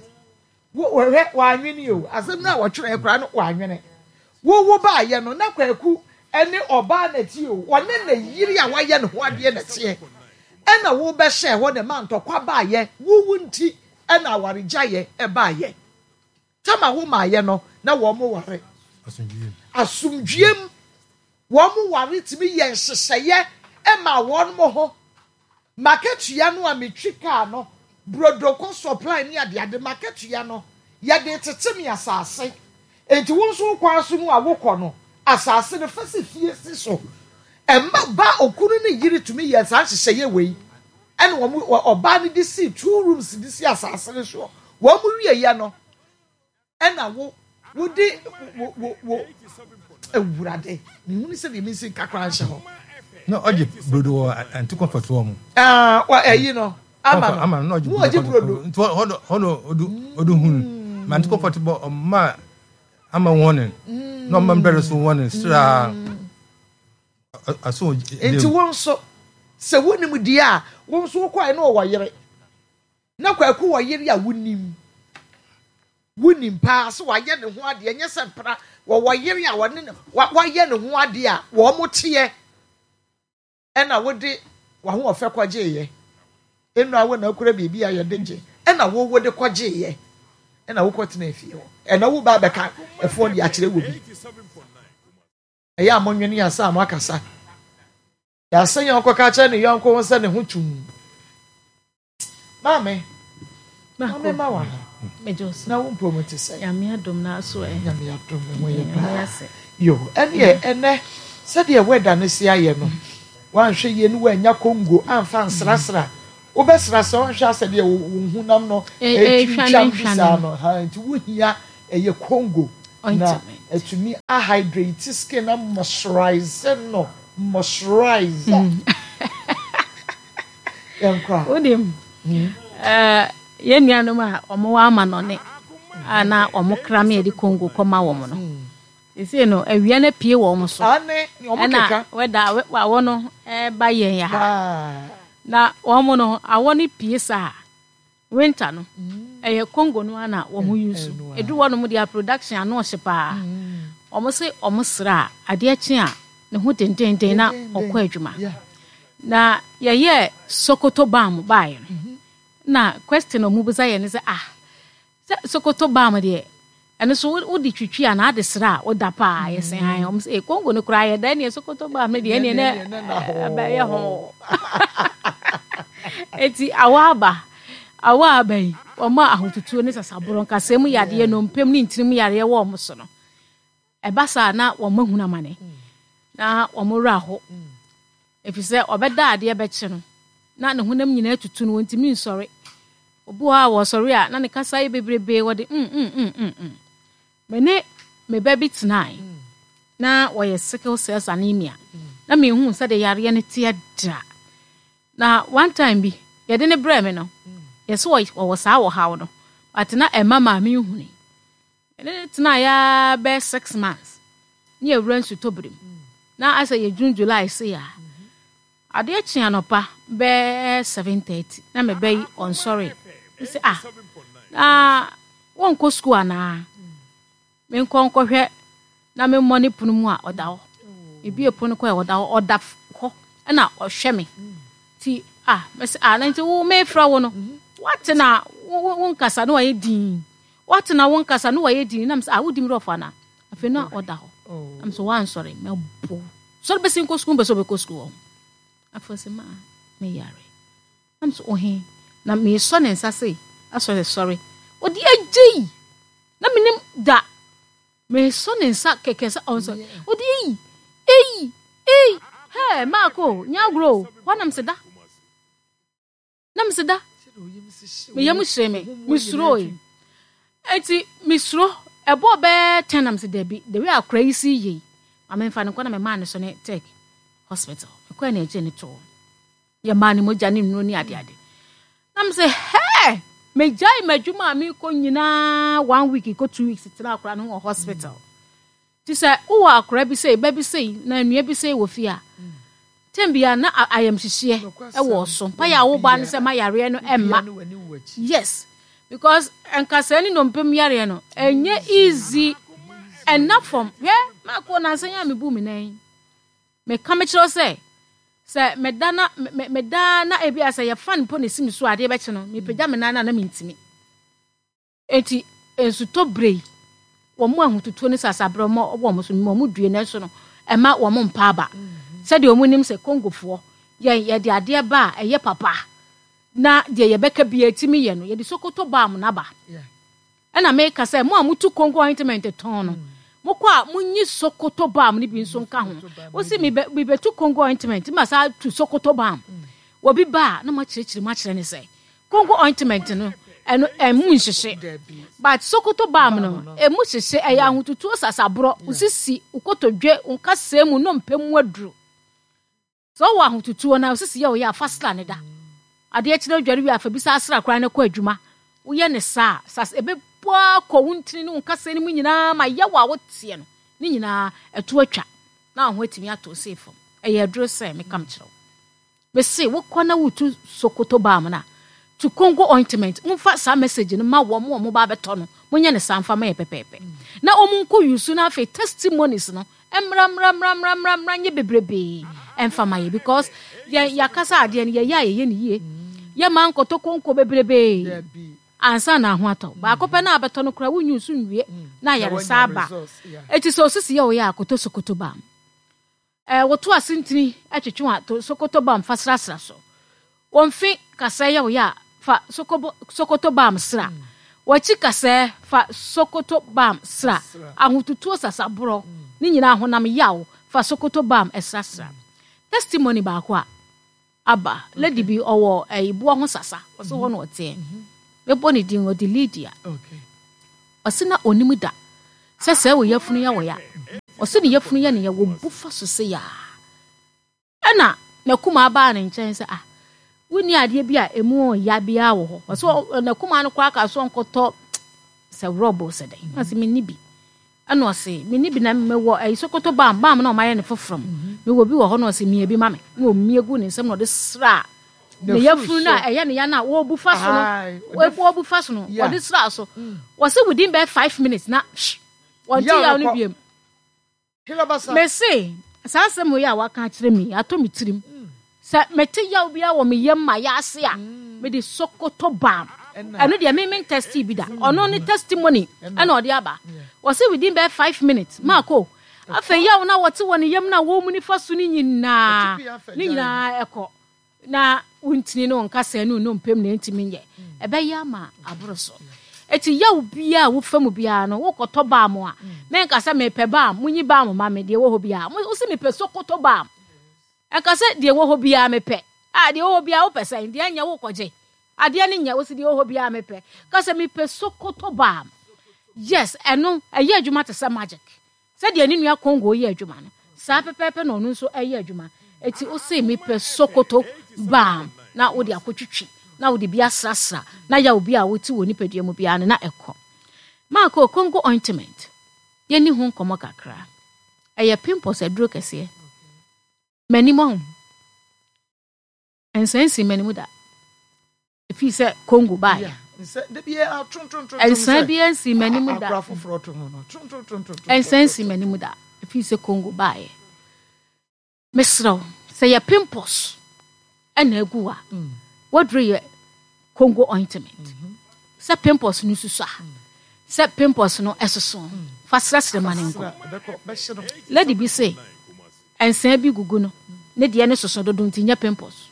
Wɔhwɛ wɔanwene o. Asɛm no a wɔtwerɛ koraa no wɔanwene. Wo wo baayɛ no na Kwaku ne ɔbaa na ɛteɛ o, ɔne ne yere a wayɛ ne ho adeɛ na ɛteɛ. Ɛna wo bɛhyɛɛ hɔ na ɛma ntɔkwa baayɛ, wo wo nti ɛna awaregyaeɛ ɛbaayɛ. Tama wo maayɛ no na wɔn ware. Asomdwoeɛ mu wɔn ware tumi yɛ nhyehyɛeɛ ɛma wɔn ho. M'akatua no a metwi kaa no, brodo kɔ supply ne adeade, m'akatua no, yɛde retete me asase. Enti wo nso wo kwan so no a wokɔ no, asase no, fa si fie si so. Ɛma ba okunu ne yere tumi yɛ saa nhyehyɛeɛ wei. Ɛna wɔn, ɔbaa no de sii two rooms de si asase no soɔ. Wɔn wieɛ no, Ɛna wo wode wo wo wo awurade mehunu sɛ deɛ mensi nka koraa nhyɛ hɔ. Na ɔgye brodo wɔ anti comfort wɔ mu. Ah, wa ɛyi no ama no. Ama no na ɔgye brodo. Ɔgye brodo. Nti hɔ no hɔ no odu odu hun. Ma anti comfort bɔ ɔma ama wɔn ne. Na ɔma mbɛrɛ so wɔn sra. Aso Nti wo nso sɛ wonim deɛ a wo nso wokɔɛ na ɔwɔ yere. Na Kwaku wɔ yere a wonim. Wonim paa sɛ wayɛ ne ho adeɛ, ɛnyɛ sɛ mpena. Wɔwɔ yere a wɔne no wayɛ ne ho adeɛ a wɔn teɛ. Ɛna wode w'ahoɔfɛ kɔgyeeɛ. Nnora wo na akura biribi a yɛde gye. Ɛna wo wode kɔgyeeɛ. Ɛna wokɔtena fie hɔ. Ɛna wo ba abɛka ɛfoɔ de akyerɛ wɔ bi. Ɛyɛ a monwene ansa a moakasa. Yɛasɛ yɔnko ka kyerɛ ne yɔnko ho sɛ ne ho tum. Maame, maame ma wa ha. Na wo mpo mu te sɛ. Nyame adom na aso ɛ. Nyame adom me ho yɛ paa. Yo, ɛneɛ ɛnɛ sɛdeɛ wɛda no si ayɛ no, wanhwɛ yie no wannya Congo amfa ansrasra. Wobɛsrasra wanhwɛ asɛ deɛ wo honam no ɛtwitwam bi saa no. Ha, nti wohia ɛyɛ Congo na atumi a hydrate skin na moisturize no moisturize. Yɛnkɔ a. Wonim, eh, yɛn nuanom a wɔwɔ amanɔne a na wɔn kra me yɛde Congo kɔma wɔn no. Seesei no, awia no apue wɔn so. Ɛna wɛda awɔ no ɛba yɛn yɛ ha. Na wɔn no, awɔ no pue saa. Winter no, ɛyɛ Congo no ara na wɔn use. Edu hɔ nom deɛ production ano ɔhye paa. Wɔn se wɔn sra a, adeɛ kye a, ne ho dendenden na ɔkɔ adwuma. Na yɛyɛɛ Sokoto bam baeɛ no, na question a wɔn bisa yɛ ne sɛ, ah, sɛ Sokoto bam deɛ, Ɛno so wode twitwi anaa ade sra a woda paa yɛ sɛ han wɔn sɛ Congo no koraa yɛ da ɛneɛ Sokoto baa me deɛ ɛneɛ nɛ ɛbɛyɛ ho eti awɔ aba awɔ aba yi wɔn a ahotutuo ne sasaborɔ nkasɛɛ mu yadeɛ nnompem ne ntini mu yareɛ wɔ wɔn so no ɛba saa na wɔn ahunu amane na wɔn werɛ aho Efisɛ ɔbɛda a adeɛ bɛkye no, na ne honam nyinaa atutu no, ɔntumi nsɔre. Obi wɔ hɔ a wɔsɔre a, na ne kasa yɛ bebrebe, wɔde mm mm mm mm mm. Me ne me ba bi tenae, na wɔyɛ sickle cells anemia. Na menhuu sɛdeɛ yareɛ no teɛ da. Na one time bi, yɛde no brɛɛ me no, yɛse ɔwɔ saa ɔhaw no, but na ɛmma maame nhunui. Yɛne no tenaeɛ ara bɛyɛ 6 months ne yɛwura nsutɔbere mu. Na asɛ yɛ June July sei a. Adeɛ kye anɔpa bɛyɛ 7:30 na me ba yi ɔnsɔre. Mese ah na wɔnkɔ sukuu anaa? Menkɔ nkɔhwɛ na memmɔ ne pono mu a ɔda hɔ. Mebue pono kɔ a ɔda hɔ ɔda hɔ ɛna ɔhwɛ me. Ti ah mese ah na nti wo mefrɛ wo no wate na wo nkasa na wayɛ dinn. Wate na wo nkasa na wayɛ dinn na mesɛ ah wodi me rɔfo anaa? Afei na ɔda hɔ na mesɛ wansɔre mɛbo sɔre bɛsi nkɔ sukuu mpɛ sɛ ɔbɛkɔ sukuu wɔ ho. Afei ɔsɛ ma meyare na mesɛ ɔhe na mesɔ ne nsa sei asɔre sɔre ɔde agyei na menim da mesɔ ne nsa kɛkɛ sɛ ɔnsɔre ɔde eyi eyi eyi hɛ maako nyɛ agorɔ o hɔ na mesɛ da. Na mese da, me yam hyee me, mesuroe. Enti mesuro, ɛbɔɔ bɛyɛ 10 na mese dabi, the way akora yi si yɛ yi, ma memfa no nkɔ na memaa no so ne Tech hospital. Mekɔɛ na ɛgyee ne too. Yɛmaa no mogya ne nnuro ne adeade. Na mese hɛɛ, megyae m'adwuma a mekɔ nyinaa one week kɔ 2 weeks tena akora no ho wɔ hospital. Nti sɛ wowɔ akora bi sei, ba bi sei, na nua bi sei wɔ fie a, tɛm biara na ayamhyehyeɛ wɔ so. Mpaeɛ a wobɔ ne sɛ ma yareɛ no mma. Yes, because nkasɛɛ ne nnompe mu yareɛ no, ɛnyɛ easy. Ɛnna fam. Hwɛ, maako nansa yi a mebu me nan yi. Meka mekyerɛ wo sɛ, sɛ meda na meda na ebi a sɛ yɛ fan mpo na esi me so a adeɛ bɛkye no, mepagya me nan no a na mentumi. Enti nsutɔ bere yi, wɔn ahotutuo ne sasaberɛ wɔ wɔn so, mema wɔn due, nanso no, ɛmma wɔn mpa aba. Sɛdeɛ wɔn nim sɛ Congofoɔ, yɛn yɛde adeɛ ba a ɛyɛ papa, na deɛ yɛbɛka biara ɛtumi yɛ no, yɛde Sokoto balm no aba. Ɛna meka sɛ, mo a motu Congo ointment tɔn no, mokɔ a monyi Sokoto balm no bi nso nka ho. Wosi mebɛtu Congo ointment, ma saa tu Sokoto balm. Obi ba a, na moakyerɛkyerɛ mu akyerɛ no sɛ, Kongo ointment no, ɛno ɛmu nhyehye. But Sokoto balm no, ɛmu hyehye, ɛyɛ ahotutuo sasaborɔ, wo sisi, wo kotodwe, wo nkasɛɛ mu nnompe mu aduru. Sɛ wowɔ ahotutuo na wo sisi yɛ wo ya a, fa sra no da. Adeɛ kye na wodware wie a, fa bi saa sra koraa na kɔ adwuma. Woyɛ no saa a, sas ɛbɛbu ara kɔ wo ntini ne wo nkasɛɛ no mu nyinaa ma yaw a woteɛ no, ne nyinaa ɛto atwa na wo ho atumi atɔ wo sei fam. Ɛyɛ aduro sɛ meka mekyerɛ wo. Mese wokɔ na wotu Sokoto balm no a, tu Congo ointment. Momfa saa message no ma wɔn a wɔba abɛtɔ no. Monyɛ no saa mfa ma yɛ pɛpɛɛpɛ. Na wɔn nkɔ use na afei testimonies no mmra mmra mmra mmra mmra mmra nyɛ bebrebee ɛmfa ma yɛ because yɛn yɛakasa adeɛ no yɛyɛ a yɛyɛ no yie. Yɛma nkɔtɔ konko bebrebee ansa na ho atɔ. Baako pɛ na abɛtɔ no koraa wonyi so nwie na ayaresa aba. Eti sɛ osisi yɛ wo yɛ a kɔtɔ Sokoto balm. Ɛɛ, woto ase ntini twetwe a, to Sokoto balm fa srasra so. Wo mfe kasɛɛ yɛ wo ya a, fa Sokobo, Sokoto balm sra. W'akyi kasɛɛ, fa Sokoto balm sra. Ahotutuo sasaborɔ, ne nyinaa honam yaw, fa Sokoto balm srasra. Testimony baako a aba, lady bi ɔwɔ ɛyi boɔ ho sasa, ɔse hɔ na ɔteɛ. Mɛbɔ ne din, ɔde Lydia. Ɔse na ɔnim da sɛ sɛɛ wo yafunu yɛ wo ya. Ɔse ne yafunu yɛ ne ya, wɔbu fa so se yaa. Ɛna n'akumaa baa ne nkyɛn sɛ, ah, wonni adeɛ bi a ɛmu ɔya biara wɔ hɔ. Ɔsɛ n'akumaa no koraa ka so ɔnkɔtɔ sɛ rɔbo sɛ dɛn. Na ɔsɛ menni bi. Ɛna ɔse menni bi na mewɔ ɛyi Sokoto bam, bam na ɔmayɛ ne foforɔ no. Mewɔ bi wɔ hɔ na ɔse mia bi ma me. Na ɔmia gu ne nsam na ɔde sraa ne yafunu no a ɛyɛ ne ya no a wɔbu fa so no. Wɔbu fa so no, wɔde sraa so. Wɔse within bɛyɛ 5 minutes na wɔnte yaw no biom. Mese, saa asɛm wei a waka akyerɛ me yi, atɔ me tirim. Sɛ mete yaw biara wɔ me yam ma yɛ ase a, mede Sokoto balm. Ɛno deɛ me mentɛstee bi da. Ɔno ne testimony ɛna ɔde aba. Wɔse within bɛyɛ 5 minutes, maakɔ. Afei yaw no a wɔte wɔ ne yam no a wɔmuni fa so no nyinaa, ne nyinaa ɛkɔ. Na wo ntini ne wo nkasɛɛ ne wo nnompe mu na ɛntumi nyɛ. Ɛbɛyɛ ama aboro so. Eti yaw biara a wofa mu biara no, wokɔtɔ balm a, menka sɛ mepɛ balm, munyi balm ma me, deɛ ɛwɔ hɔ biara. Wo se mepɛ Sokoto balm. Ɛnka sɛ deɛ ɛwɔ hɔ biara mepɛ. Ah, deɛ ɛwɔ hɔ biara wopɛ sɛn? Deɛ ɛnyɛ wokɔgye. Adeɛ no nyɛ, wo se deɛ ɛwɔ hɔ biara mepɛ. Ka sɛ mepɛ Sokoto balm. Yes, ɛno, ɛyɛ adwuma te sɛ magic. Sɛdeɛ ne nua Congo yɛ adwuma no, saa pɛpɛɛpɛ na ɔno nso yɛ adwuma. Enti wose mepɛ Sokoto balm na wode akɔtwitwi na wode bi asrasra na yaw bi a wote wɔ nipadua mu biara no na ɛkɔ. Marco, Congo ointment, yɛnni ho nkɔmmɔ kakra. Ɛyɛ pimples aduro kɛseɛ. M'anim ɔho. Nsa nsi m'anim da. Ɛfiri sɛ Congo baeɛ. Nsa biara nsi m'anim da. Nsa nsi m'anim da. Ɛfiri sɛ Congo baeɛ. Mesrɛ wo, sɛ yɛ pimples ɛna agu a, waduro yɛ Congo ointment. Sɛ pimples no susu a, sɛ pimples no ɛsoso, fa srɛsrɛ ma no nkɔ. Lady bi se, Nsaa bi gugu no, ne deɛ no soso dodo nti nyɛ pimples.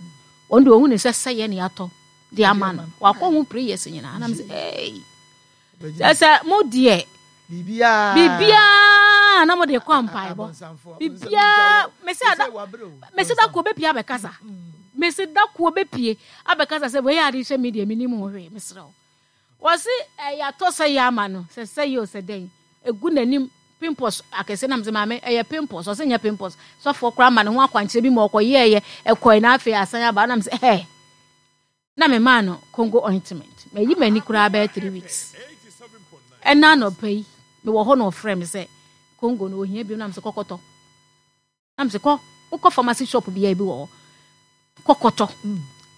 Ɔno deɛ ɔhu ne sɛ sɛyɛ ne atɔ de ama no. Wakɔ ho prayers nyinaa. Nam sɛ hey. Sɛ sɛ mo deɛ biribiara na mo de kɔ mpaebɔ. Biribiara mese ada mese da ko bepie abɛkasa. Mese da ko bepie abɛkasa sɛ wei ade hyɛ me deɛ menim ho hwee mesrɛ wo. Wɔse ɛyɛ atɔ sɛ yɛ ama no sɛ sɛ yɛ o sɛ dɛn egu n'anim pimples akɛse nam sɛ maame ɛyɛ pimples ɔse nyɛ pimples sɔfoɔ koraa ma ne ho akwankyerɛ bi ma ɔkɔ yɛɛyɛ ɛkɔe na afei asan aba nam sɛ ɛɛ na me maa no Congo ointment mayi m'ani koraa bɛyɛ 3 weeks ɛna anɔpa yi mewɔ hɔ na ɔfrɛ me sɛ Congo no ohia bi nam sɛ kɔkɔtɔ. Na mese kɔ, wokɔ pharmacy shop biara bi wɔ hɔ, kɔ kɔtɔ.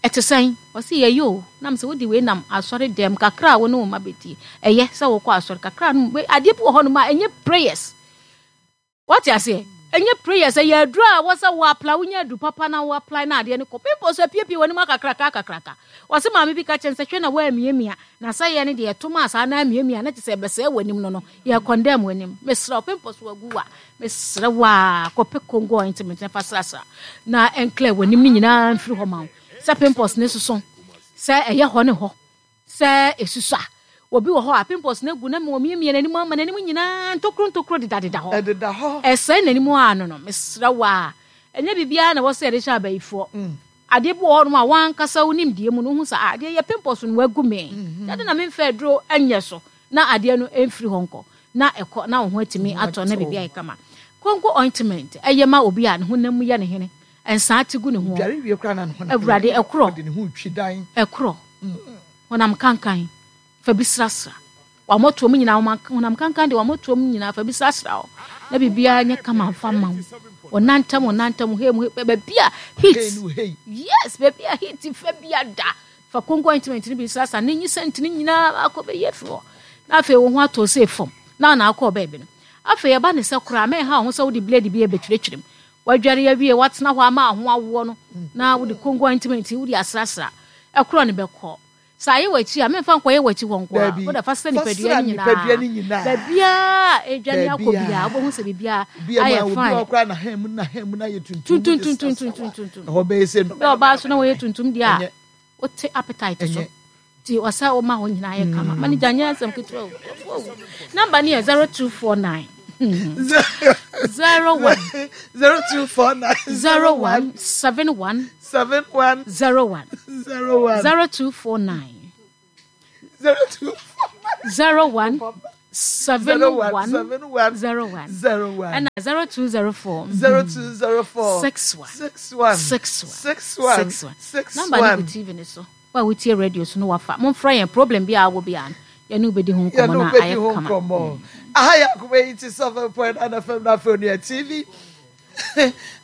Ɛte sɛn? Ɔse yɛyɛ o. Na mese wode wei nam asɔre dɛm kakra a wo ne wo mma bɛdie. Ɛyɛ sɛ wokɔ asɔre kakra no, adeɛ bi wɔ hɔ nom a ɛnyɛ prayers. Wate aseɛ? Ɛnyɛ prayers, ɛyɛ aduro a wɔ sɛ wo apply, wonya aduru papa na wo apply na adeɛ no kɔ. Pimples apiepie w'anim akakraka akakraka. Ɔse maame bi ka kyerɛ no sɛ hwɛ na woamiamia na sɛ yɛ no deɛ ɛto maa saa na amiamia na kyerɛ sɛ ɛbɛsɛe w'anim no no yɛ condemn w'anim. Mesrɛ wo pimples wagu a mesrɛ wo a kɔpɛ Congo ointment na fa srasra na ɛnclear w'anim no nyinaa mfiri hɔ ma wo. Sɛ pimples ne soso sɛ ɛyɛ hɔ ne hɔ sɛ ɛsusua. Obi wɔ hɔ a pimples no agu na ma ɔmiamia n'anim ama n'anim nyinaa ntokuro ntokuro dedadeda hɔ. Ɛdeda hɔ. Ɛsɛe n'anim a no no mesrɛ wo a ɛnyɛ biribiara na ɛwɔ sɛ yɛde hyɛ abayifoɔ. Adeɛ bi wɔ hɔnom a w'ankasa wo nimdeɛ mu no wohu sɛ ah adeɛ yɛ pimples no agu me. Dɛn na memfa aduro nyɛ so na adeɛ no mfiri hɔ nkɔ na ɛkɔ na wo ho atumi atɔ na biribi ayɛ kama. Konko ointment ɛyɛ ma obi a ne honam mu yɛ ne hene, nsaa te gu ne ho. Dware wie koraa na ne ho Awurade ɛkorɔ ɔde ne ho retwi dan. Ɛkorɔ honam kankan fa bi srasra w'amɔtoam nyinaa, honam kankan deɛ w'amɔtoam nyinaa fa bi srasra hɔ na biribiara nyɛ kama mfa ma wo. Wɔnantam wɔnantam hei mu hei baabi a heat yes baabi a heat fa bi ada fa konko ointment no bi srasra ne nyi sɛnti no nyinaa akɔ bɛyɛ fi hɔ na afei wo ho atɔ sɛ fam na na akɔ baabi no afei ɛba ne sɛ koraa mɛnha wo ho sɛ wode blade bi ɛbɛtwiritwirim wadware awie watena hɔ ama ho awoɔ no na wode konko ointment wode asrasra ɛkorɔ ne bɛkɔ. Sɛ ayɛ w'akyi a, memfa nkɔyɛ w'akyi hɔ nko ara. Wode fa sra nipadua no nyinaa. Baabiara a ɛredwane akɔ biara, wobɛhu sɛ biribiara ayɛ fine. Tuntuntuntuntuntuntuntum. Bɛ ɔbaa so na wɔyɛ tuntum deɛ a, wote appetite so. Nti ɔsɛ woma hɔ nyinaa yɛ kama. Ma no gya nyɛ asɛm ketewa o. Namba no yɛ 0249 01 0249 01 71 71 01 01 0249 0249 01 71 01 01 ɛna 0204 0204 61 61 61 61 61 61 namba no gu tv no so wo a wotie radio so no wafa momfrɛ yɛn problem bi a wɔ bi a no yɛne wobɛdi ho nkɔmmɔ yɛne no wobɛdi ayɛ ho kama nkɔmmɔ aha yɛ akoma yi ti 7.9 fm na afei onua tv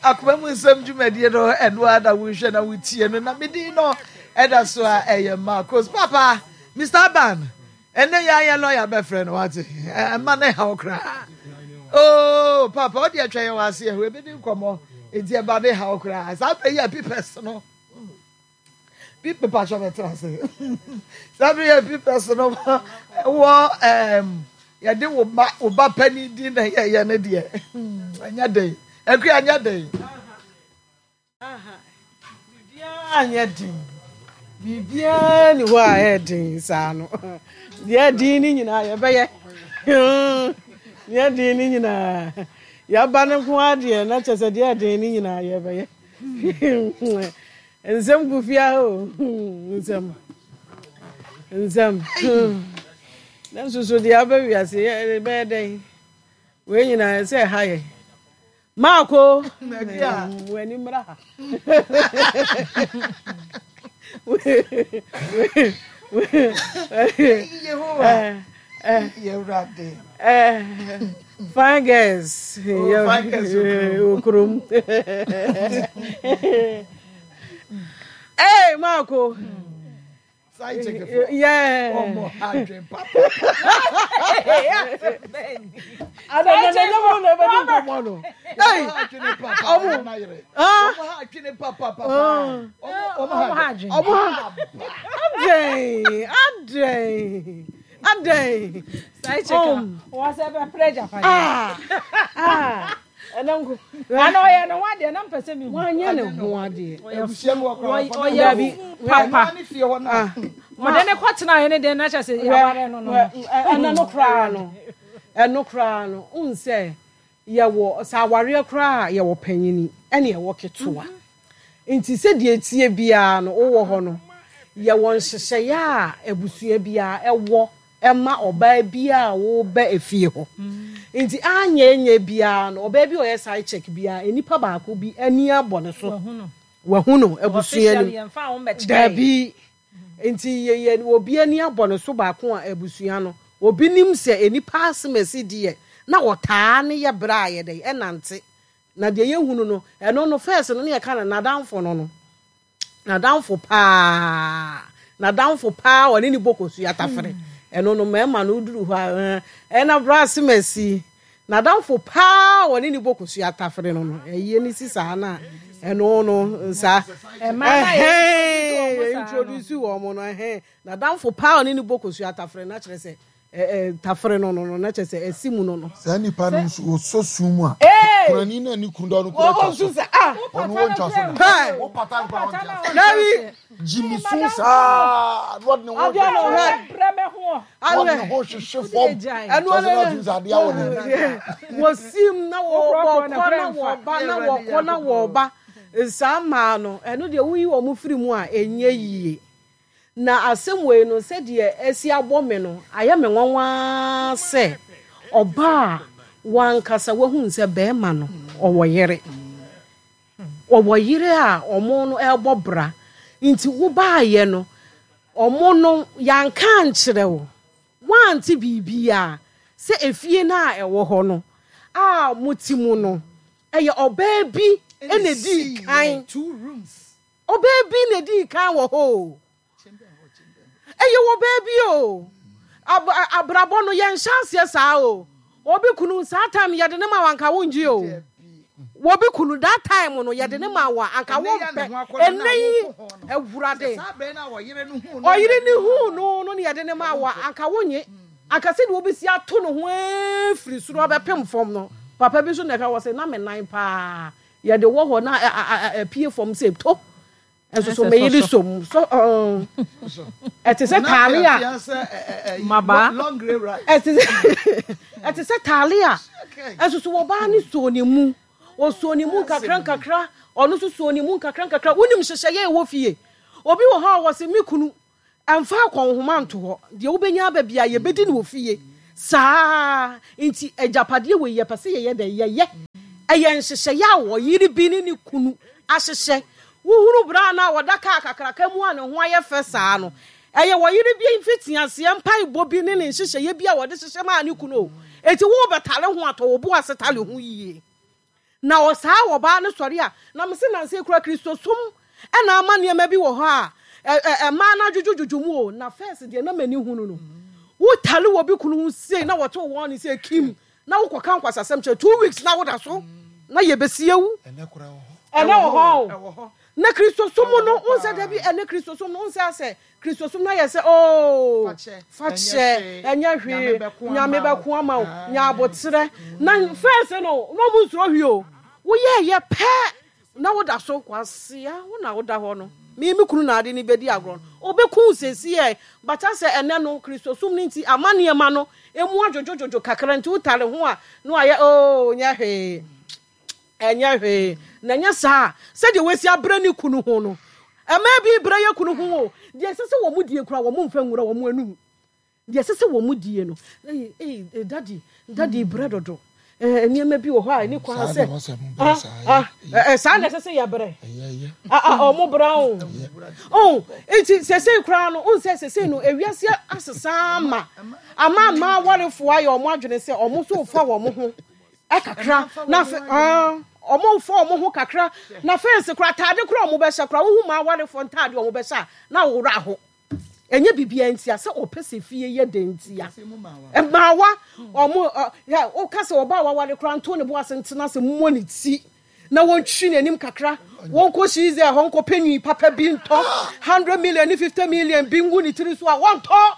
Akoma mu nsɛm dwumadie no ɛno ara na wohwɛ na wotie no na medin no ɛda so a ɛyɛ Marcos papa Mr. Aban ɛnɛ yɛ ayɛ lɔya bɛfrɛ no wate ɛma ne haw koraa oh papa ɔde atwa yɛn wɔ ase ɛho ebedi nkɔmmɔ enti ɛba ne haw koraa saa bɛ yi a pipɛs no bi mepatwɔ bɛtena ase saa bere yɛ pipɛs no wɔ ɛɛm yɛde wo ba wo ba panin din na yɛyɛ ne deɛ ɛnyɛ den akua ɛnyɛ den. Biribiara nyɛ den biribiara ni hɔ a ɛyɛ den saa no deɛ ɛden ne nyinaa yɛbɛyɛ deɛ ɛden ne nyinaa yɛaba no nko adeɛ na kyɛ sɛ deɛ ɛden ne nyinaa yɛbɛyɛ. Nsɛm gu fie ha o nsɛm nsɛm nanso so deɛ aba wiase yɛ bɛyɛ dɛn wei nyinaa sɛ ɛha yɛ maako w'ani mmra ha Fine girls. Oh, fine girls. Okurum. Hey, Marco. Side chick for. Yeah. Oh, mo hadwen papa. Ada na na na mo na ba di nkɔmɔ no. Hey, ọmọ ọmọ ha adwene papa papa. Ọmọ ha adwene. Ọmọ ha adwene. Adwene. Adɛn? Side chick a wɔsɛ bɛpere agyapadeɛ. Ah! Ah! Ɛnɛ nko. Ana ɔyɛ ne ho adeɛ na mpɛ sɛ mehu. Wanyɛ ne ho adeɛ. Abusua mu ɔkora Ɔyɛ papa. Ɔde ne kɔtena yɛ ne deɛ na kyɛ sɛ yɛaware no no. Ɛnɛ no koraa no. Ɛno koraa no. Wohu sɛ yɛwɔ sɛ awareɛ koraa a yɛwɔ panyini ɛne yɛwɔ ketewa. Nti sɛdeɛ ɛteɛ biara no wowɔ hɔ no, yɛwɔ nhyehyɛeɛ a abusua biara ɛwɔ ɛma ɔbaa biara a woba efie hɔ. Nti anyɛ nyɛ biara no, ɔbaa bi a ɔyɛ side check biara, nnipa baako bi ani abɔ ne so. Wahu no abusua no mu. Dabi. Nti yɛyɛ obi ani abɔ ne so baako a abusua no, obi nim sɛ nnipa asemasi deɛ na ɔtaa ne yɛ berɛ a yɛdɛn ɛnante Na deɛ yɛhunu no, ɛno no, first no, na yɛka no n'adamfo no no. N'adamfo paa. N'adamfo paa ɔne ne bɔ kosua tafere. Ɛno no, mmarima no woduru hɔ a, ɛna bra asemasi. N'adamfo paa ɔne ne bɔ kosua tafere no no. Ɛyie ne si saa na ɛno no, saa. Ɛhɛn, introduce wɔn no, ɛhɛn. N'adamfo paa ɔne ne bɔ kosua tafere no akyerɛ sɛ Tafere no no no na kyerɛ sɛ ɛsi mu no no. Saa nipa no nso wɔsɔ sum mu a kunani na ne kunu da no kura twa so ɔno wɔntwa so da wo pata nkora wɔnte ase Dabi gyimi sum saa na ɔde ne ho hwehwɛ ɔde ne ho hwehwɛ fam ɛno kyerɛ sɛ na ɔtumi sɛ adeɛ awɔ n'ani wɔsim na wɔkɔ na wɔba na wɔkɔ na wɔba saa mmaa no ɛno deɛ woyi wɔn firi mu a ɛnyɛ yie. Na asɛm wei no, sɛdeɛ asi abɔ me no, ayɛ me nwanwa ara sɛ ɔbaa a w'ankasa wahunu sɛ barima no ɔwɔ yere. Ɔwɔ yere a ɔmo no ɛrebɔ bra. Nti wobaayɛ no, ɔmo no yɛanka ankyerɛ wo. Woante biribiara sɛ efie no a ɛwɔ hɔ no a mote mu no, ɛyɛ ɔbaa bi na ɛdii kan. Ɔbaa bi na edii kan wɔ hɔ o. Ɛyɛ ɔbaa bi o. Ab abrabɔ no yɛnhyɛ aseɛ saa o. Obi kunu saa time yɛde ne ma wanka wongye o. Wɔbi kunu that time no yɛde ne ma wo a anka Ɛnɛ yi a ne wompɛ. ho akɔnnɔ Ɛnɛ no a yi woko ho no. Awurade. Sɛ saa bere no a ɔyere no huu no Ɔyere na no yɛde ne maa huu no no na yɛde ne maa wo a anka wonnye. Anka sɛdeɛ wobɛsi ato ne ho afiri soro abɛpem fam no, papa bi nso na ɛka wɔ sɛ na me nan paa yɛde wɔ hɔ na apue fam sɛ to. Nso so me yere som so ɛte sɛ taale a mmabaa ɛte sɛ ɛte sɛ taale a nso so ɔbaa no soo ne mu ɔsoo ne mu nkakra nkakra ɔno nso soo ne mu nkakra nkakra. Wonim nhyehyɛeɛ a ɛwɔ fie. Obi wɔ hɔ a wɔse me kunu Mfa akɔnhoma nto hɔ. Deɛ wobɛnya aba biara, yɛbɛdi no wɔ fie. Saa nti, agyapadeɛ wei, yɛpɛ sɛ yɛyɛ dɛn? Yɛyɛ. Ɛyɛ nhyehyɛeɛ a ɔyere bi ne ne kunu ahyehyɛ. Wohunu braa no a ɔda kaa kakraka mu a ne ho ayɛ fɛ saa no, ɛyɛ ɔyere bi mfitiaseɛ mpaebɔ bi ne ne nhyehyɛeɛ bi a ɔde hyehyɛ maa ne kunu o. Enti worebɛtale ho a, tɔ wo bo ase tale ho yie. Na ɔsaa ɔbaa no sɔre a, na mese nansa yi koraa Kristosom na ama nneɛma bi wɔ hɔ a mmaa no adwodwodwodwo mu o, na first deɛ na m'ani hunu no. Wotale wɔ bi kunu ho sei na wɔto wɔn ne sɛ kim na wokɔka nkwasasɛm kyerɛ 2 weeks na woda so na yɛbɛsi awu. Ɛnɛ wɔ hɔ o. Na Kristosom no, wonsɛ da bi ɛnɛ Kristosom no, wonsɛ asɛ Kristosom no ayɛ sɛ, Oo, fa kyɛ, ɛnyɛ hwee, Nyame bɛko ama wo, nya aboterɛ. Na first no, na ɔmo nsuro hwee o. Woyɛɛyɛ pɛ na woda so, kwasea, wo na woda hɔ no, me me kunu na ade no bɛdi agorɔ no, ɔbɛku wo seesei. But asɛ ɛnnɛ no, Kristosom no nti, ama nneɛma no emu adwodwodwodwo kakra nti, wotare ho a, na wayɛ, Oo, nyɛ hwee. Ɛnyɛ hwee. Na ɛnyɛ saa a, sɛdeɛ wasi abrɛ ne kunu ho no, mmaa bi brɛ yɛ kunu ho o. Deɛ ɛsɛ sɛ wɔn die koraa, wɔn mfa nwura wɔn anum. Deɛ ɛsɛ sɛ wɔn die no, ei, ei, daddy, daddy brɛ dodo. Eh, nneɛma bi wɔ hɔ a ɛni kwan sɛ, ah, ah, eh, saa na ɛsɛ sɛ yɛbrɛ. Ah, ah, wɔn brɛ o. Oh, nti sɛsɛi koraa no, wohu sɛ sɛsɛi no, ewiase asesa ama, ama mmaa awarefoɔ ayɛ wɔn adwene sɛ wɔn nso refa wɔn ho. Kakra na afei ah wɔn mfa wɔn ho kakra na fɛnse kora ataade kora wɔn bɛhyɛ kora wohu ma awarefoɔ ntaade wɔn bɛhyɛ a na wɔwura aho ɛnyɛ biribiara ntia sɛ ɔpɛ sɛ fie yɛ dɛ ntia mmaawa wɔn ɛ woka sɛ ɔbaa waware kora nto ne bo ase ntena ase mmɔ ne ti na wɔntwi n'anim kakra wɔnkɔ hyiize ɛhɔ nkɔpɛ nwi papa bi ntɔ 100 million ne 50 million bi ngu ne tiri so a wɔntɔ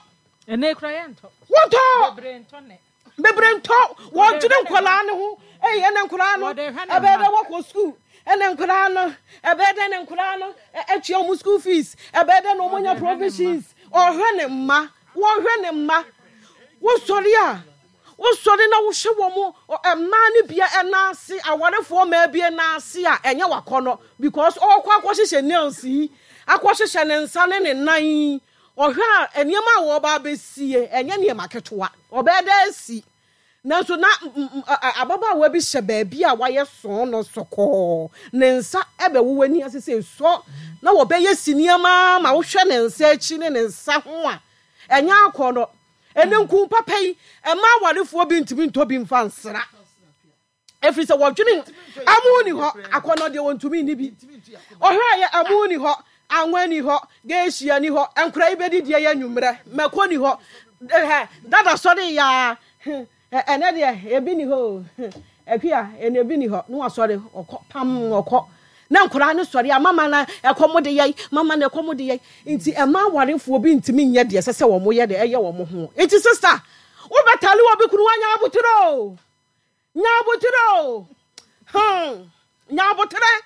ɛnɛ kura yɛntɔ wɔntɔ bebree ntɔ nɛ. Bebree ntɔ wɔdwene nkwadaa no ho. Ei, ɛnɛ nkwadaa no ɛbɛyɛ dɛ wɔkɔ sukuu. Ɛnɛ nkwadaa no ɛbɛyɛ dɛ ne nkwadaa no atua wɔn school fees. Ɛbɛyɛ dɛ na wɔn anya provisions. Ɔhwɛ ne mma, wɔhwɛ ne mma. Wosɔre a, wosɔre na wohwɛ wɔn mmaa no bia ɛnan ase, awarefoɔ mmaa bi nan ase a ɛnyɛ wakɔnɔ because ɔkɔ akɔhyehyɛ nails yi, akɔhyehyɛ ne nsa ne ne nan yi. Ɔhwɛ a, nneɛma a wɔreba abɛsie, ɛnyɛ nneɛma ketewa. Ɔbɛyɛ dɛ asi. Nanso na ababaawa bi hyɛ baabi a wayɛ sɔn no sɔkɔɔ. Ne nsa bɛwowɔ ani ase sɛ sɔ, na wɔbɛyɛ si nneɛma ma wohwɛ ne nsa akyi ne ne nsa ho a, ɛnyɛ akɔnnɔ. Ɛnnɛ nku papa yi, mmaa awarefoɔ bi ntumi ntɔ bi mfa nsra. Ɛfiri sɛ wɔdwene amu ni hɔ, akɔnnɔ deɛ wɔntumi nni bi. Ɔhwɛ a yɛ amu ni hɔ, anwa ni hɔ, geehyia ni hɔ, nkora yi bɛdi deɛ yɛ anwummerɛ, mako ni hɔ, dada sɔre yaa, ɛnɛ deɛ ebi ni hɔ o, akua ɛnɛ ebi ni hɔ, na wasɔre ɔkɔ pam ɔkɔ. Na nkora no sɔre a mama na ɛkɔm de yɛn, mama na ɛkɔm de yɛn. Nti ɛma awarefoɔ bi ntumi nyɛ deɛ ɛsɛ sɛ wɔn yɛ deɛ ɛyɛ wɔn ho. Nti sista, wobɛtale wɔ bi kunu wanya abotire o. Nya aboterɛ o, hmm, nya aboterɛ.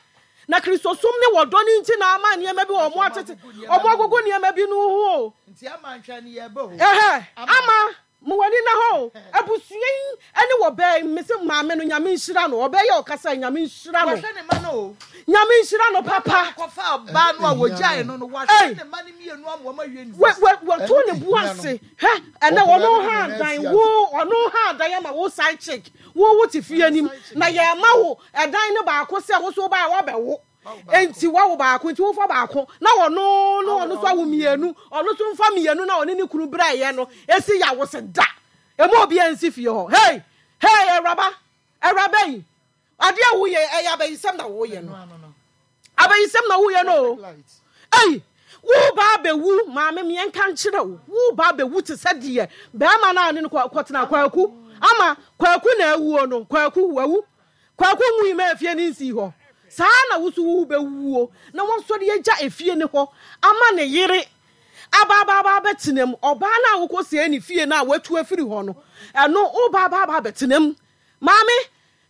Na Kristosom ne wɔdɔ no nti na ama nneɛma bi wɔn atete, wɔn agogo nneɛma bi no ho o. Nti ama nhwɛ no yɛ bɛ o. Ɛhɛ, ama mo w'ani na hɔ o. Abusua yi ɛne wɔ bɛɛ, mese maame no Nyame nhyira no, ɔbɛɛ yɛ ɔkasa yi Nyame nhyira no. Wɔhwɛ ne ma no o. Nyame nhyira no papa. Kɔfa ɔbaa no a wɔgyae no no, wahwɛ ne ma no mmienu ama wɔn awie university. Wɔto ne bo ase. Hwɛ, ɛnɛ ɔno ha adan wo, ɔno ha adan ama wo side chick. Wo wo te fie anim na yɛma wo ɛdan no baako sɛ wo so wobaeɛ woabɛwo. Enti wawo baako nti wofa baako na ɔno no ɔno so awo mmienu, ɔno so mfa mmienu na ɔne ne kunu brɛeɛ no esi yawo se da. Emu obiara nsi fie hɔ. Hey! Hey, awuraba! Awuraba yi! Adeɛ a woyɛ ɛyɛ abayisɛm na woyɛ no. Abayisɛm na woyɛ no o. Ei, wo ba abɛwu, maame meɛ nka nkyerɛ wo. Wo ba abɛwu te sɛ deɛ bɛrima no a ne no kɔtena kwaku. Ama kwaku na awuo no, kwaku wawu. Kwaku nwui ma efie no nsii hɔ. Saa ara na wo nso wobɛwuo na wasɔre agya efie no hɔ ama ne yere aba aba aba abɛtena mu. Ɔbaa no a wokɔsɛe ne fie no a watu afiri hɔ no, ɛno woba aba aba abɛtena mu. Maame,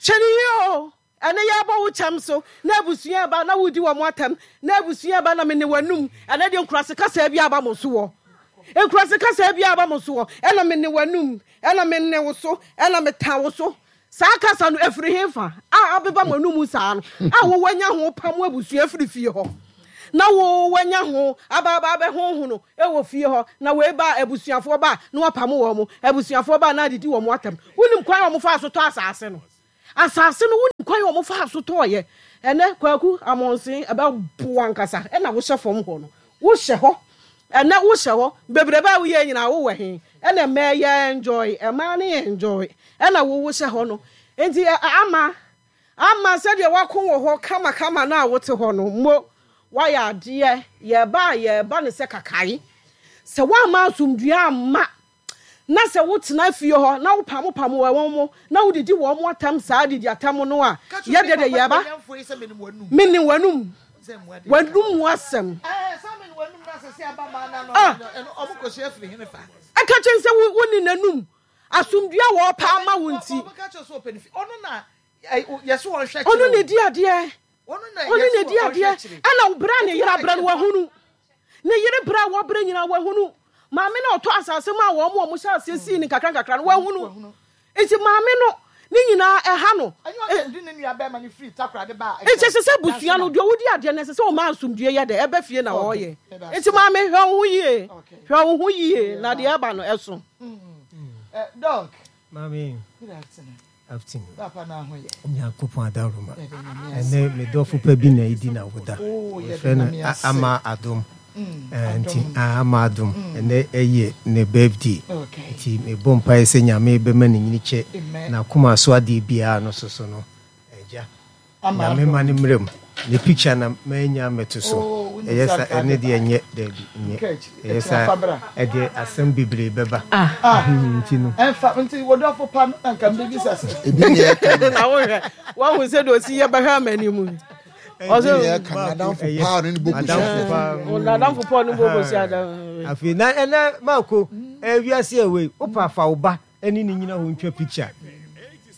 hwɛ no yie o. Ɛnɛ yɛrebɔ wo kyɛm so na abusua reba na woredi wɔn atɛm na abusua reba na mene w'anum. Ɛnɛ deɛ nkurase kasaa bi aba mo so wɔ. Nkurase kasaa bi aba mo so wɔ. Ɛna mene w'anum, ɛna mene wo so, ɛna metan wo so. Saa kasa no, ɛfiri hefa a abeba mo anomu saa no, a wo wanya ho pam abusua firi fie hɔ, na wo wanya ho aba aba abɛhonhono wɔ fie hɔ, na wei ba a, abusuafoɔ ba a, na wapamo wɔn, abusuafoɔ ba a, na adidi wɔn atɛm. Wonim kwan a wɔfaa so tɔ asase no? Asase no, wonim kwan a wɔfaa so tɔɔeɛ? Ɛnnɛ, Kwaku Amonsen, ɛbɛbo wo ankasa, ɛna wohyɛ fam hɔ no, wohyɛ hɔ, ɛnnɛ wohyɛ hɔ, bebrebe a woyɛ nyinaa wowɔ he? Ɛna mmaa yɛ enjoy, mmaa no yɛ enjoy, ɛna wo wohyɛ hɔ no. Nti ama, ama sɛdeɛ wako wɔ hɔ kamakama no a wote hɔ no, mo, woayɛ adeɛ, yɛreba a yɛreba no sɛ kakae. Sɛ woamma asomdwoeɛ amma, na sɛ wotena fie hɔ na wopamopam wɔn na wodidi wɔn atɛm saa didi atɛm no a, yɛ deɛ deɛ yɛreba. Mene w'anum. W'anum mu asɛm. Ah! Ɛka kyɛn sɛ wonni n'anum. Asomdwoe a wɔrepɛ ama wo nti. Ɔno na edi adeɛ. Ɔno na edi adeɛ. Ɛna brɛ a ne yere abrɛ no wahunu. Ne yere brɛ a wɔbrɛ nyinaa wahunu. Maame no a ɔtɔ asase maa wɔn a wɔhyɛ aseɛ sii no nkakra nkakra no wahunu. Nti maame no ne nyinaa ɛha no. Nti ɛsɛ sɛ abusua no deɛ ɔdi adeɛ no ɛsɛ sɛ ɔma asomdwie yɛ dɛ ɛba fie na ɔyɛ. Nti maame hwɛ wo ho yie hwɛ wo ho yie na deɛ ɛba no ɛso. Doc. Maame. Good afternoon. Afternoon. Papa na ho yɛ. Nyankopɔn adaworoma. Ɛnɛ me dɔfo pa bi na edi na woda. Oh, Wɔfrɛ no Ama Adom. Nti Ama Adom ɛnɛ ɛyɛ ne birthday. Nti mebɔ mpaeɛ sɛ Nyame bɛma ne nyini kyɛ n'akoma so adeɛ biara no so so no. Agya. Nyame ma no mmra mu. Ne picture na manya mɛto so. Ɛyɛ sa ɛne deɛ nyɛ daabi nyɛ. Ɛyɛ sa ɛdeɛ asɛm bebree bɛba. Nti no. Ɛnfa nti wɔdɔfo pa no na nka mbɛbisa sɛ. Ebi ne ɛka no. Na wohwɛ wahu sɛ deɛ ɔsi yɛ bɛhwɛ ama anim. Ebi ne ɛka no adamfo paa no ne bɔ kosua. Adamfo paa no bɔ kosua. Afei na ɛnɛ maako ɛwiase ɛwei wopa fa wo ba ɛne ne nyina hɔ ntwa picture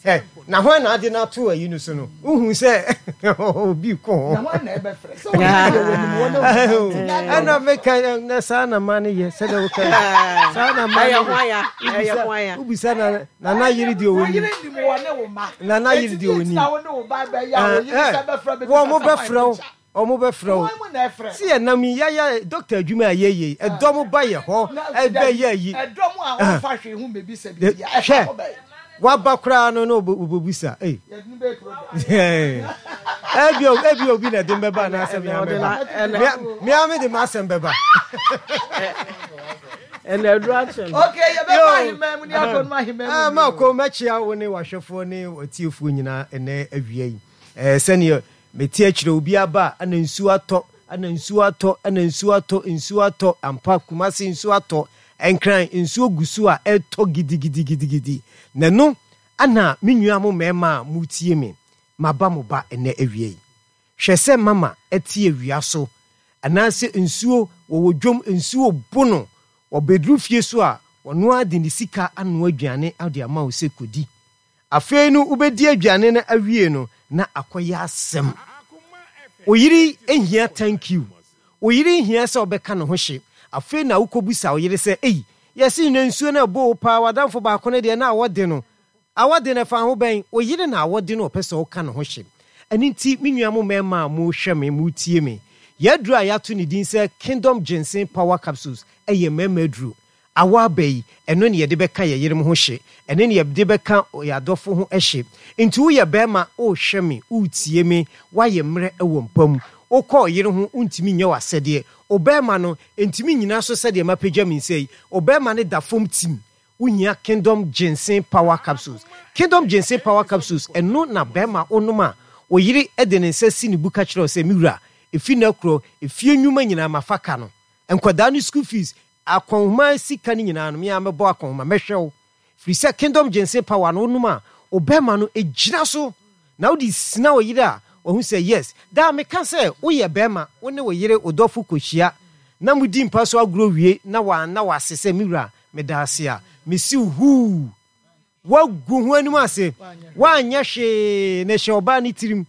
ɛ na hwan na ade no ato ayi no so no wohu sɛ obi ko ho ɛna meka na saa na ma no yɛ sɛdeɛ woka saa na ma no yɛ wobisa na nana yere deɛ ɔnim nana yere deɛ ɔnim wɔn mo bɛfrɛ wo Ɔmo bɛ frɛ wo. Se yɛ nam yi yaya doctor adwuma a yɛ yɛ yi ɛdɔm ba yɛ hɔ ɛbɛ yɛ yi. Hwɛ waba koraa no na ɔbɛbusa ei. Ebi ebi obi na ɛde mbɛba anaasɛ mea mɛba. Mea me de m'asɛm bɛba. Ɛna aduru akyɛ no. Okay, yɛbɛba ahemman mu ne akɔnom ahemman mu. Mako mɛkyea wo ne w'ahwɛfoɔ ne w'atiefoɔ nyinaa ɛnɛ awia yi. Sɛdeɛ mete akyire obi aba a ɛna nsuo atɔ ɛna nsuo atɔ ɛna nsuo atɔ nsuo atɔ ampa Kumasi nsuo atɔ Nkran nsuo gu so a ɛretɔ gidigidigidigidi na ɛno ɛna me nua mo mmarima a motie me maba mo ba ɛnɛ awia yi hwɛ sɛ mama ɛte awia so anaasɛ nsuo wɔwɔ dwom nsuo bo no wɔbɛduru fie so a wɔno ara de ne sika anoa aduane de ama wo sɛ kɔdi Afei no wobɛdi aduane no awie no na akɔyɛ asɛm. Wo yere hia thank you. Wo yere hia sɛ wobɛka ne ho hye. Afei na wokɔbisa wo yere sɛ, ei, yɛse nnɛ nsuo no ɛbɔ wo paa, w'adamfo baako no deɛ na awɔ de no. Awɔ de no ɛfa ho bɛn? Wo yere na awɔ de no ɔpɛ sɛ woka ne ho hye. Ɛno nti me nua mo mmarima a mohwɛ me, motie me, yɛn aduro a yɛato ne din sɛ Kingdom Ginseng Power Capsules yɛ mmarima aduro. Awɔ aba yi, ɛno ne yɛde bɛka yɛn yerenom ho hye, ɛno ne yɛde bɛka yɛn adɔfo ho hye. Nti woyɛ barima, worehwɛ me, woretie me, woayɛ mmerɛ wɔ mpa mu, wokɔ wo yere ho, wontumi nyɛ w'asɛdeɛ. Wo barima no, ntumi nnyina so sɛdeɛ mapagya me nsa yi, wo barima no da fam tim. Wohia Kingdom Ginseng Power Capsules. Kingdom Ginseng Power Capsules, ɛno na barima wonom a, wo yere de ne nsa si ne bu ka kyerɛ wo sɛ, Me wura, ɛfiri nnɛ korɔ, efie nnwuma nyinaa mafa ka no. Nkwadaa no school fees, Akɔnhoma sika no nyinaa no, me ara mɛbɔ akɔnhoma, mɛhwɛ wo. Firi sɛ Kingdom Ginseng Power no, wonom a, wo bɛrima no gyina so. Na wode sina wo yere a, wahu sɛ yes. Daa meka sɛ woyɛ barima, wo ne wo yere, wo dɔfo kɔhyia na modi mpa so agorɔ wie na wanna wo ase sɛ me wura, meda ase a, mese wo huu. Woagu ho anim ase, woanyɛ hwee na ɛhyɛ ɔbaa no tirim.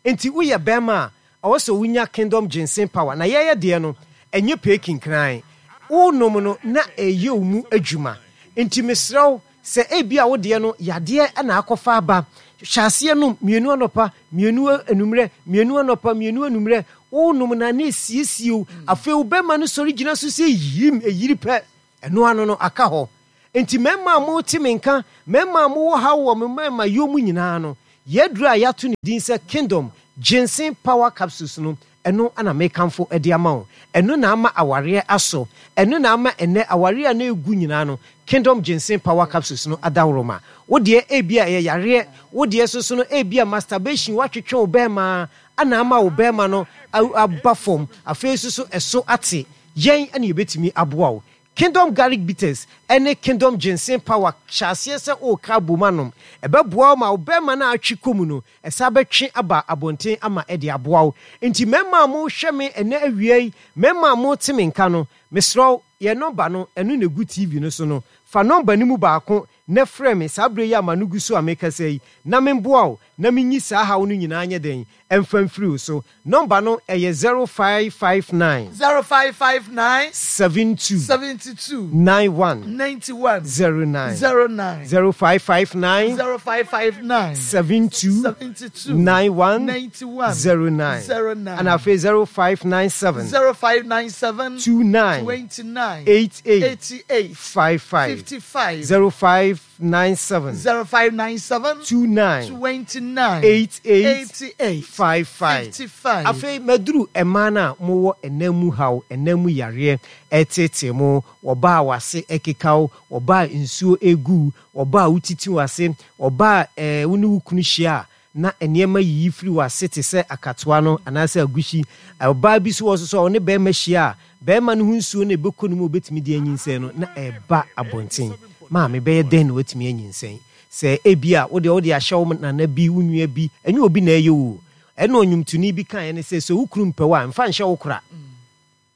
Enti woyɛ bɛrima a, ɛwɔ sɛ wonya Kingdom Ginseng Power. Na yɛyɛ deɛ no, ɛnyɛ pee kinkran. Wonom no na ɛreyɛ wo mu adwuma. Enti mesrɛ wo, sɛ ebia wo deɛ no, yadeɛ na akɔfa aba, hyɛ aseɛ nom mmienu anɔpa, mmienu anwummerɛ, mmienu anɔpa, mmienu anwummerɛ. Wonom no a, na ɛsiesie wo. Afei wo bɛrima no sɔre gyina so sɛ yim, ɛyiri pɛ. Ɛno ano no, aka hɔ. Enti mmarima a mote me nka, mmarima a mowɔ haw wɔ mo mmarimayɔ mu nyinaa no, yɛn aduru a yɛato ne din sɛ Kingdom Ginseng Power Capsules no, ɛno na mekamfo de ama wo. Ɛno na ama awareɛ asɔ. Ɛno na ama ɛnnɛ awareɛ a na ɛregu nyinaa no, Kingdom Ginseng Power Capsules no adaworoma. Wo deɛ ebia ɛyɛ yareɛ, wo deɛ nso so no ebia masturbation, woatwetwe wo barima ara na ama wo barima no aba fam, afei nso so ɛso ate. Yɛn na yɛbɛtumi aboa wo. Kingdom Garlic Bitters ne Kingdom Ginseng Power hyɛ aseɛ sɛ woreka abom anom. Ɛbɛboa wo ma wo bɛrima no a atwe kɔ mu no, ɛsan bɛtwe aba abɔnten ama ɛde aboa wo. Enti mmarima a morehwɛ me ɛnnɛ awia yi, mmarima a morete me nka no, mesrɛ wo, yɛn nɔmba no, ɛno na ɛgu TV no so no. Fa nɔmba no mu baako na frɛ me saa berɛ yi a m'ano gu so a merekasa yi, na memboa wo na menyi saa haw no nyinaa nyɛ dɛn? Ɛmfa mfiri wo so. Nɔmba no, ɛyɛ 0559. 0559. 72. 72. 91. 91. 09. 09. 0559. 0559. 72. 72. 91. 91. 09. 09. Ɛna afei 0597. 0597. 29. 29. 88. 88. 55. 55. 0597. 0597. 29. 29. 88. 88. 55. 55. Afei maduru mmaa no a mowɔ ɛnan mu haw, ɛnan mu yareɛ ɛreteetee mo, wɔba a w'ase ɛkeka wo, wɔba a nsuo ɛregu wo, wɔba a wotiti w'ase, wɔba a ɛɛ wo ne wo kunu hyia a na nneɛma yiyi firi w'ase te sɛ akatoa no anaasɛ agushi. Ɔbaa bi nso wɔ hɔ nso a ɔne barima hyia a, barima no ho nsuo no a ɛbɛkɔ ne mu a ɔbɛtumi de anyinsɛn no, na ɛreba abɔnten. Maame, bɛyɛ dɛn na watumi anyinsɛn? Sɛ ebia wo deɛ wode ahyɛ wo nana bi, wo nua bi, ɛnyɛ obi na ɛyɛ wo o. Ɛna ɔnwomtoni bi kaeɛ ne sɛ, sɛ wo kunu mpɛ wo a, mfa nhyɛ wo kora.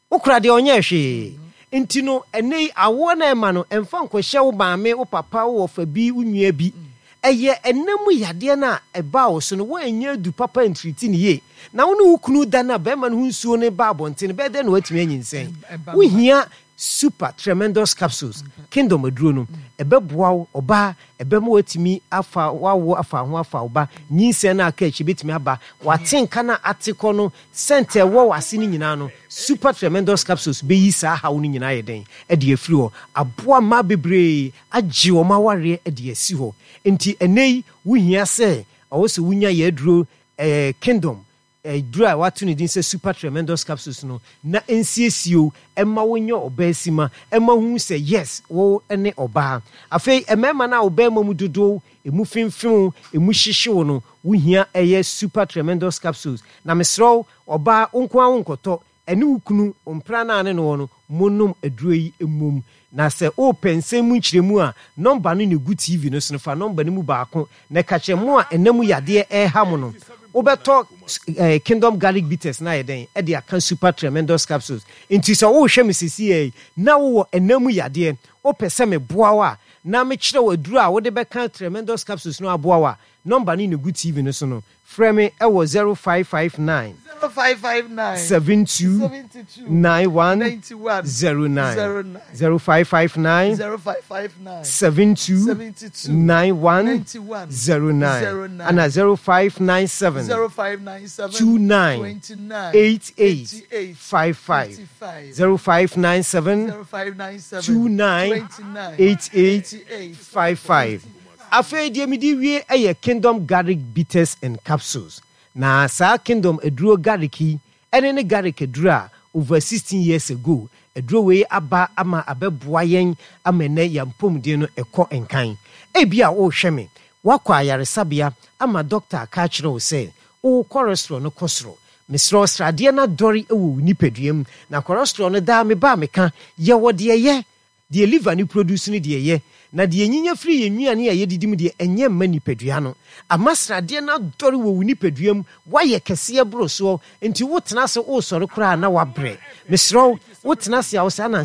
Wo kora deɛ ɔnyɛɛ hwee. Nti no, ɛnnɛ yi, awoɔ no a ɛma no, mfa nkɔhyɛ wo maame, wo papa, wo wɔfa bi, wo nua bi. Ɛyɛ ɛnna mu yadeɛ no a ɛbaa wo so no, woannya adu papa antiriti no yie. Na wo ne wo kunu da no a barima no ho nsuo no ba abɔnten no, ɛbɛyɛ dɛn na woatumi anyinsɛn? Wohia Super Tremendous Capsules, Kingdom aduro no. Ɛbɛboa wo, ɔbaa, ɛbɛma woatumi afa w'awoɔ afa ho afa wo ba. Nyinsɛn no a aka akyi bɛtumi aba. W'atenka no a ate kɔ no, Scent a ɛwɔ w'ase no nyinaa no, Super Tremendous Capsules bɛyi saa haw no nyinaa ayɛ dɛn? De afiri hɔ. Aboa mmaa bebree agye wɔn awareɛ de asi hɔ. Enti ɛnnɛ yi, wohia sɛ ɛwɔ sɛ wonya yɛn aduro eh, Kingdom aduro a wɔato ne din sɛ Super Tremendous Capsules no na ɛnsiesie wo, ɛmma wonyɛ ɔbaasima, ɛmma wohu sɛ yes, wo ne ɔbaa. Afei mmarima no a wo barima mu dodow Emu femfem wo, emu hyehye wo no, wo hia ɛyɛ super tremendous capsules. Na mesrɛ wo, ɔbaa, wo nko ara wo nkɔtɔ, ɛne wo kunu, wo mpra no a ne no wɔ no, mo nom aduro yi mmom. Na sɛ wo repɛ nsɛm mu nkyerɛmu a, nɔmba no na ɛgu TV no so no, fa nɔmba no mu baako na ka kyerɛ mo a ɛna mu yadeɛ ɛreha mo no. Wo bɛtɔ eh, Kingdom Garlic Bitters no ayɛ dɛn ɛde aka super tremendous capsules. Nti sɛ wo rehwɛ me seesei yi, na wo wɔ ɛna mu yadeɛ, wo pɛ sɛ me boa wo a, na mekyerɛ wo aduru a wode bɛka Tremendous Capsules no aboa wo a, nɔmba no na egu TV no so no. Frɛ me wɔ 0559 0559 72 72 91 91 09. 09 0559 0559 72 72 91 91 09. 09 Ana 0597 0597 29 29 88 88 55. 55 0597 0597 29 29 88 88 55. Afei deɛ mede wie yɛ Kingdom Garlic Bitters and Capsules. Na saa Kingdom aduro garlic yi ɛne ne garlic aduro a over 16 years ago aduro wei aba ama abɛboa yɛn ama ɛnnɛ yɛn apɔmuden no ɛkɔ nkan. Ebia worehwɛ me, woakɔ ayaresabea ama dɔkta aka akyerɛ wo sɛ wo cholesterol no kɔ soro. Mesrɛ wo, sradeɛ no adɔre wɔ wo nipadua mu. Na cholesterol no daa meba a meka, yɛwɔ deɛ ɛyɛ, deɛ liver no produce no deɛ ɛyɛ. Na deɛ yɛnyinya firi yɛn nnuane a yɛdidi mu deɛ, ɛnyɛ mma nipadua no. Ama sradeɛ no adɔre wɔ wo nipadua mu, woayɛ kɛseɛ boro soɔ, nti wotena ase woresɔre koraa a na woabrɛ. Mesrɛ wo, wotena ase a wo saa na.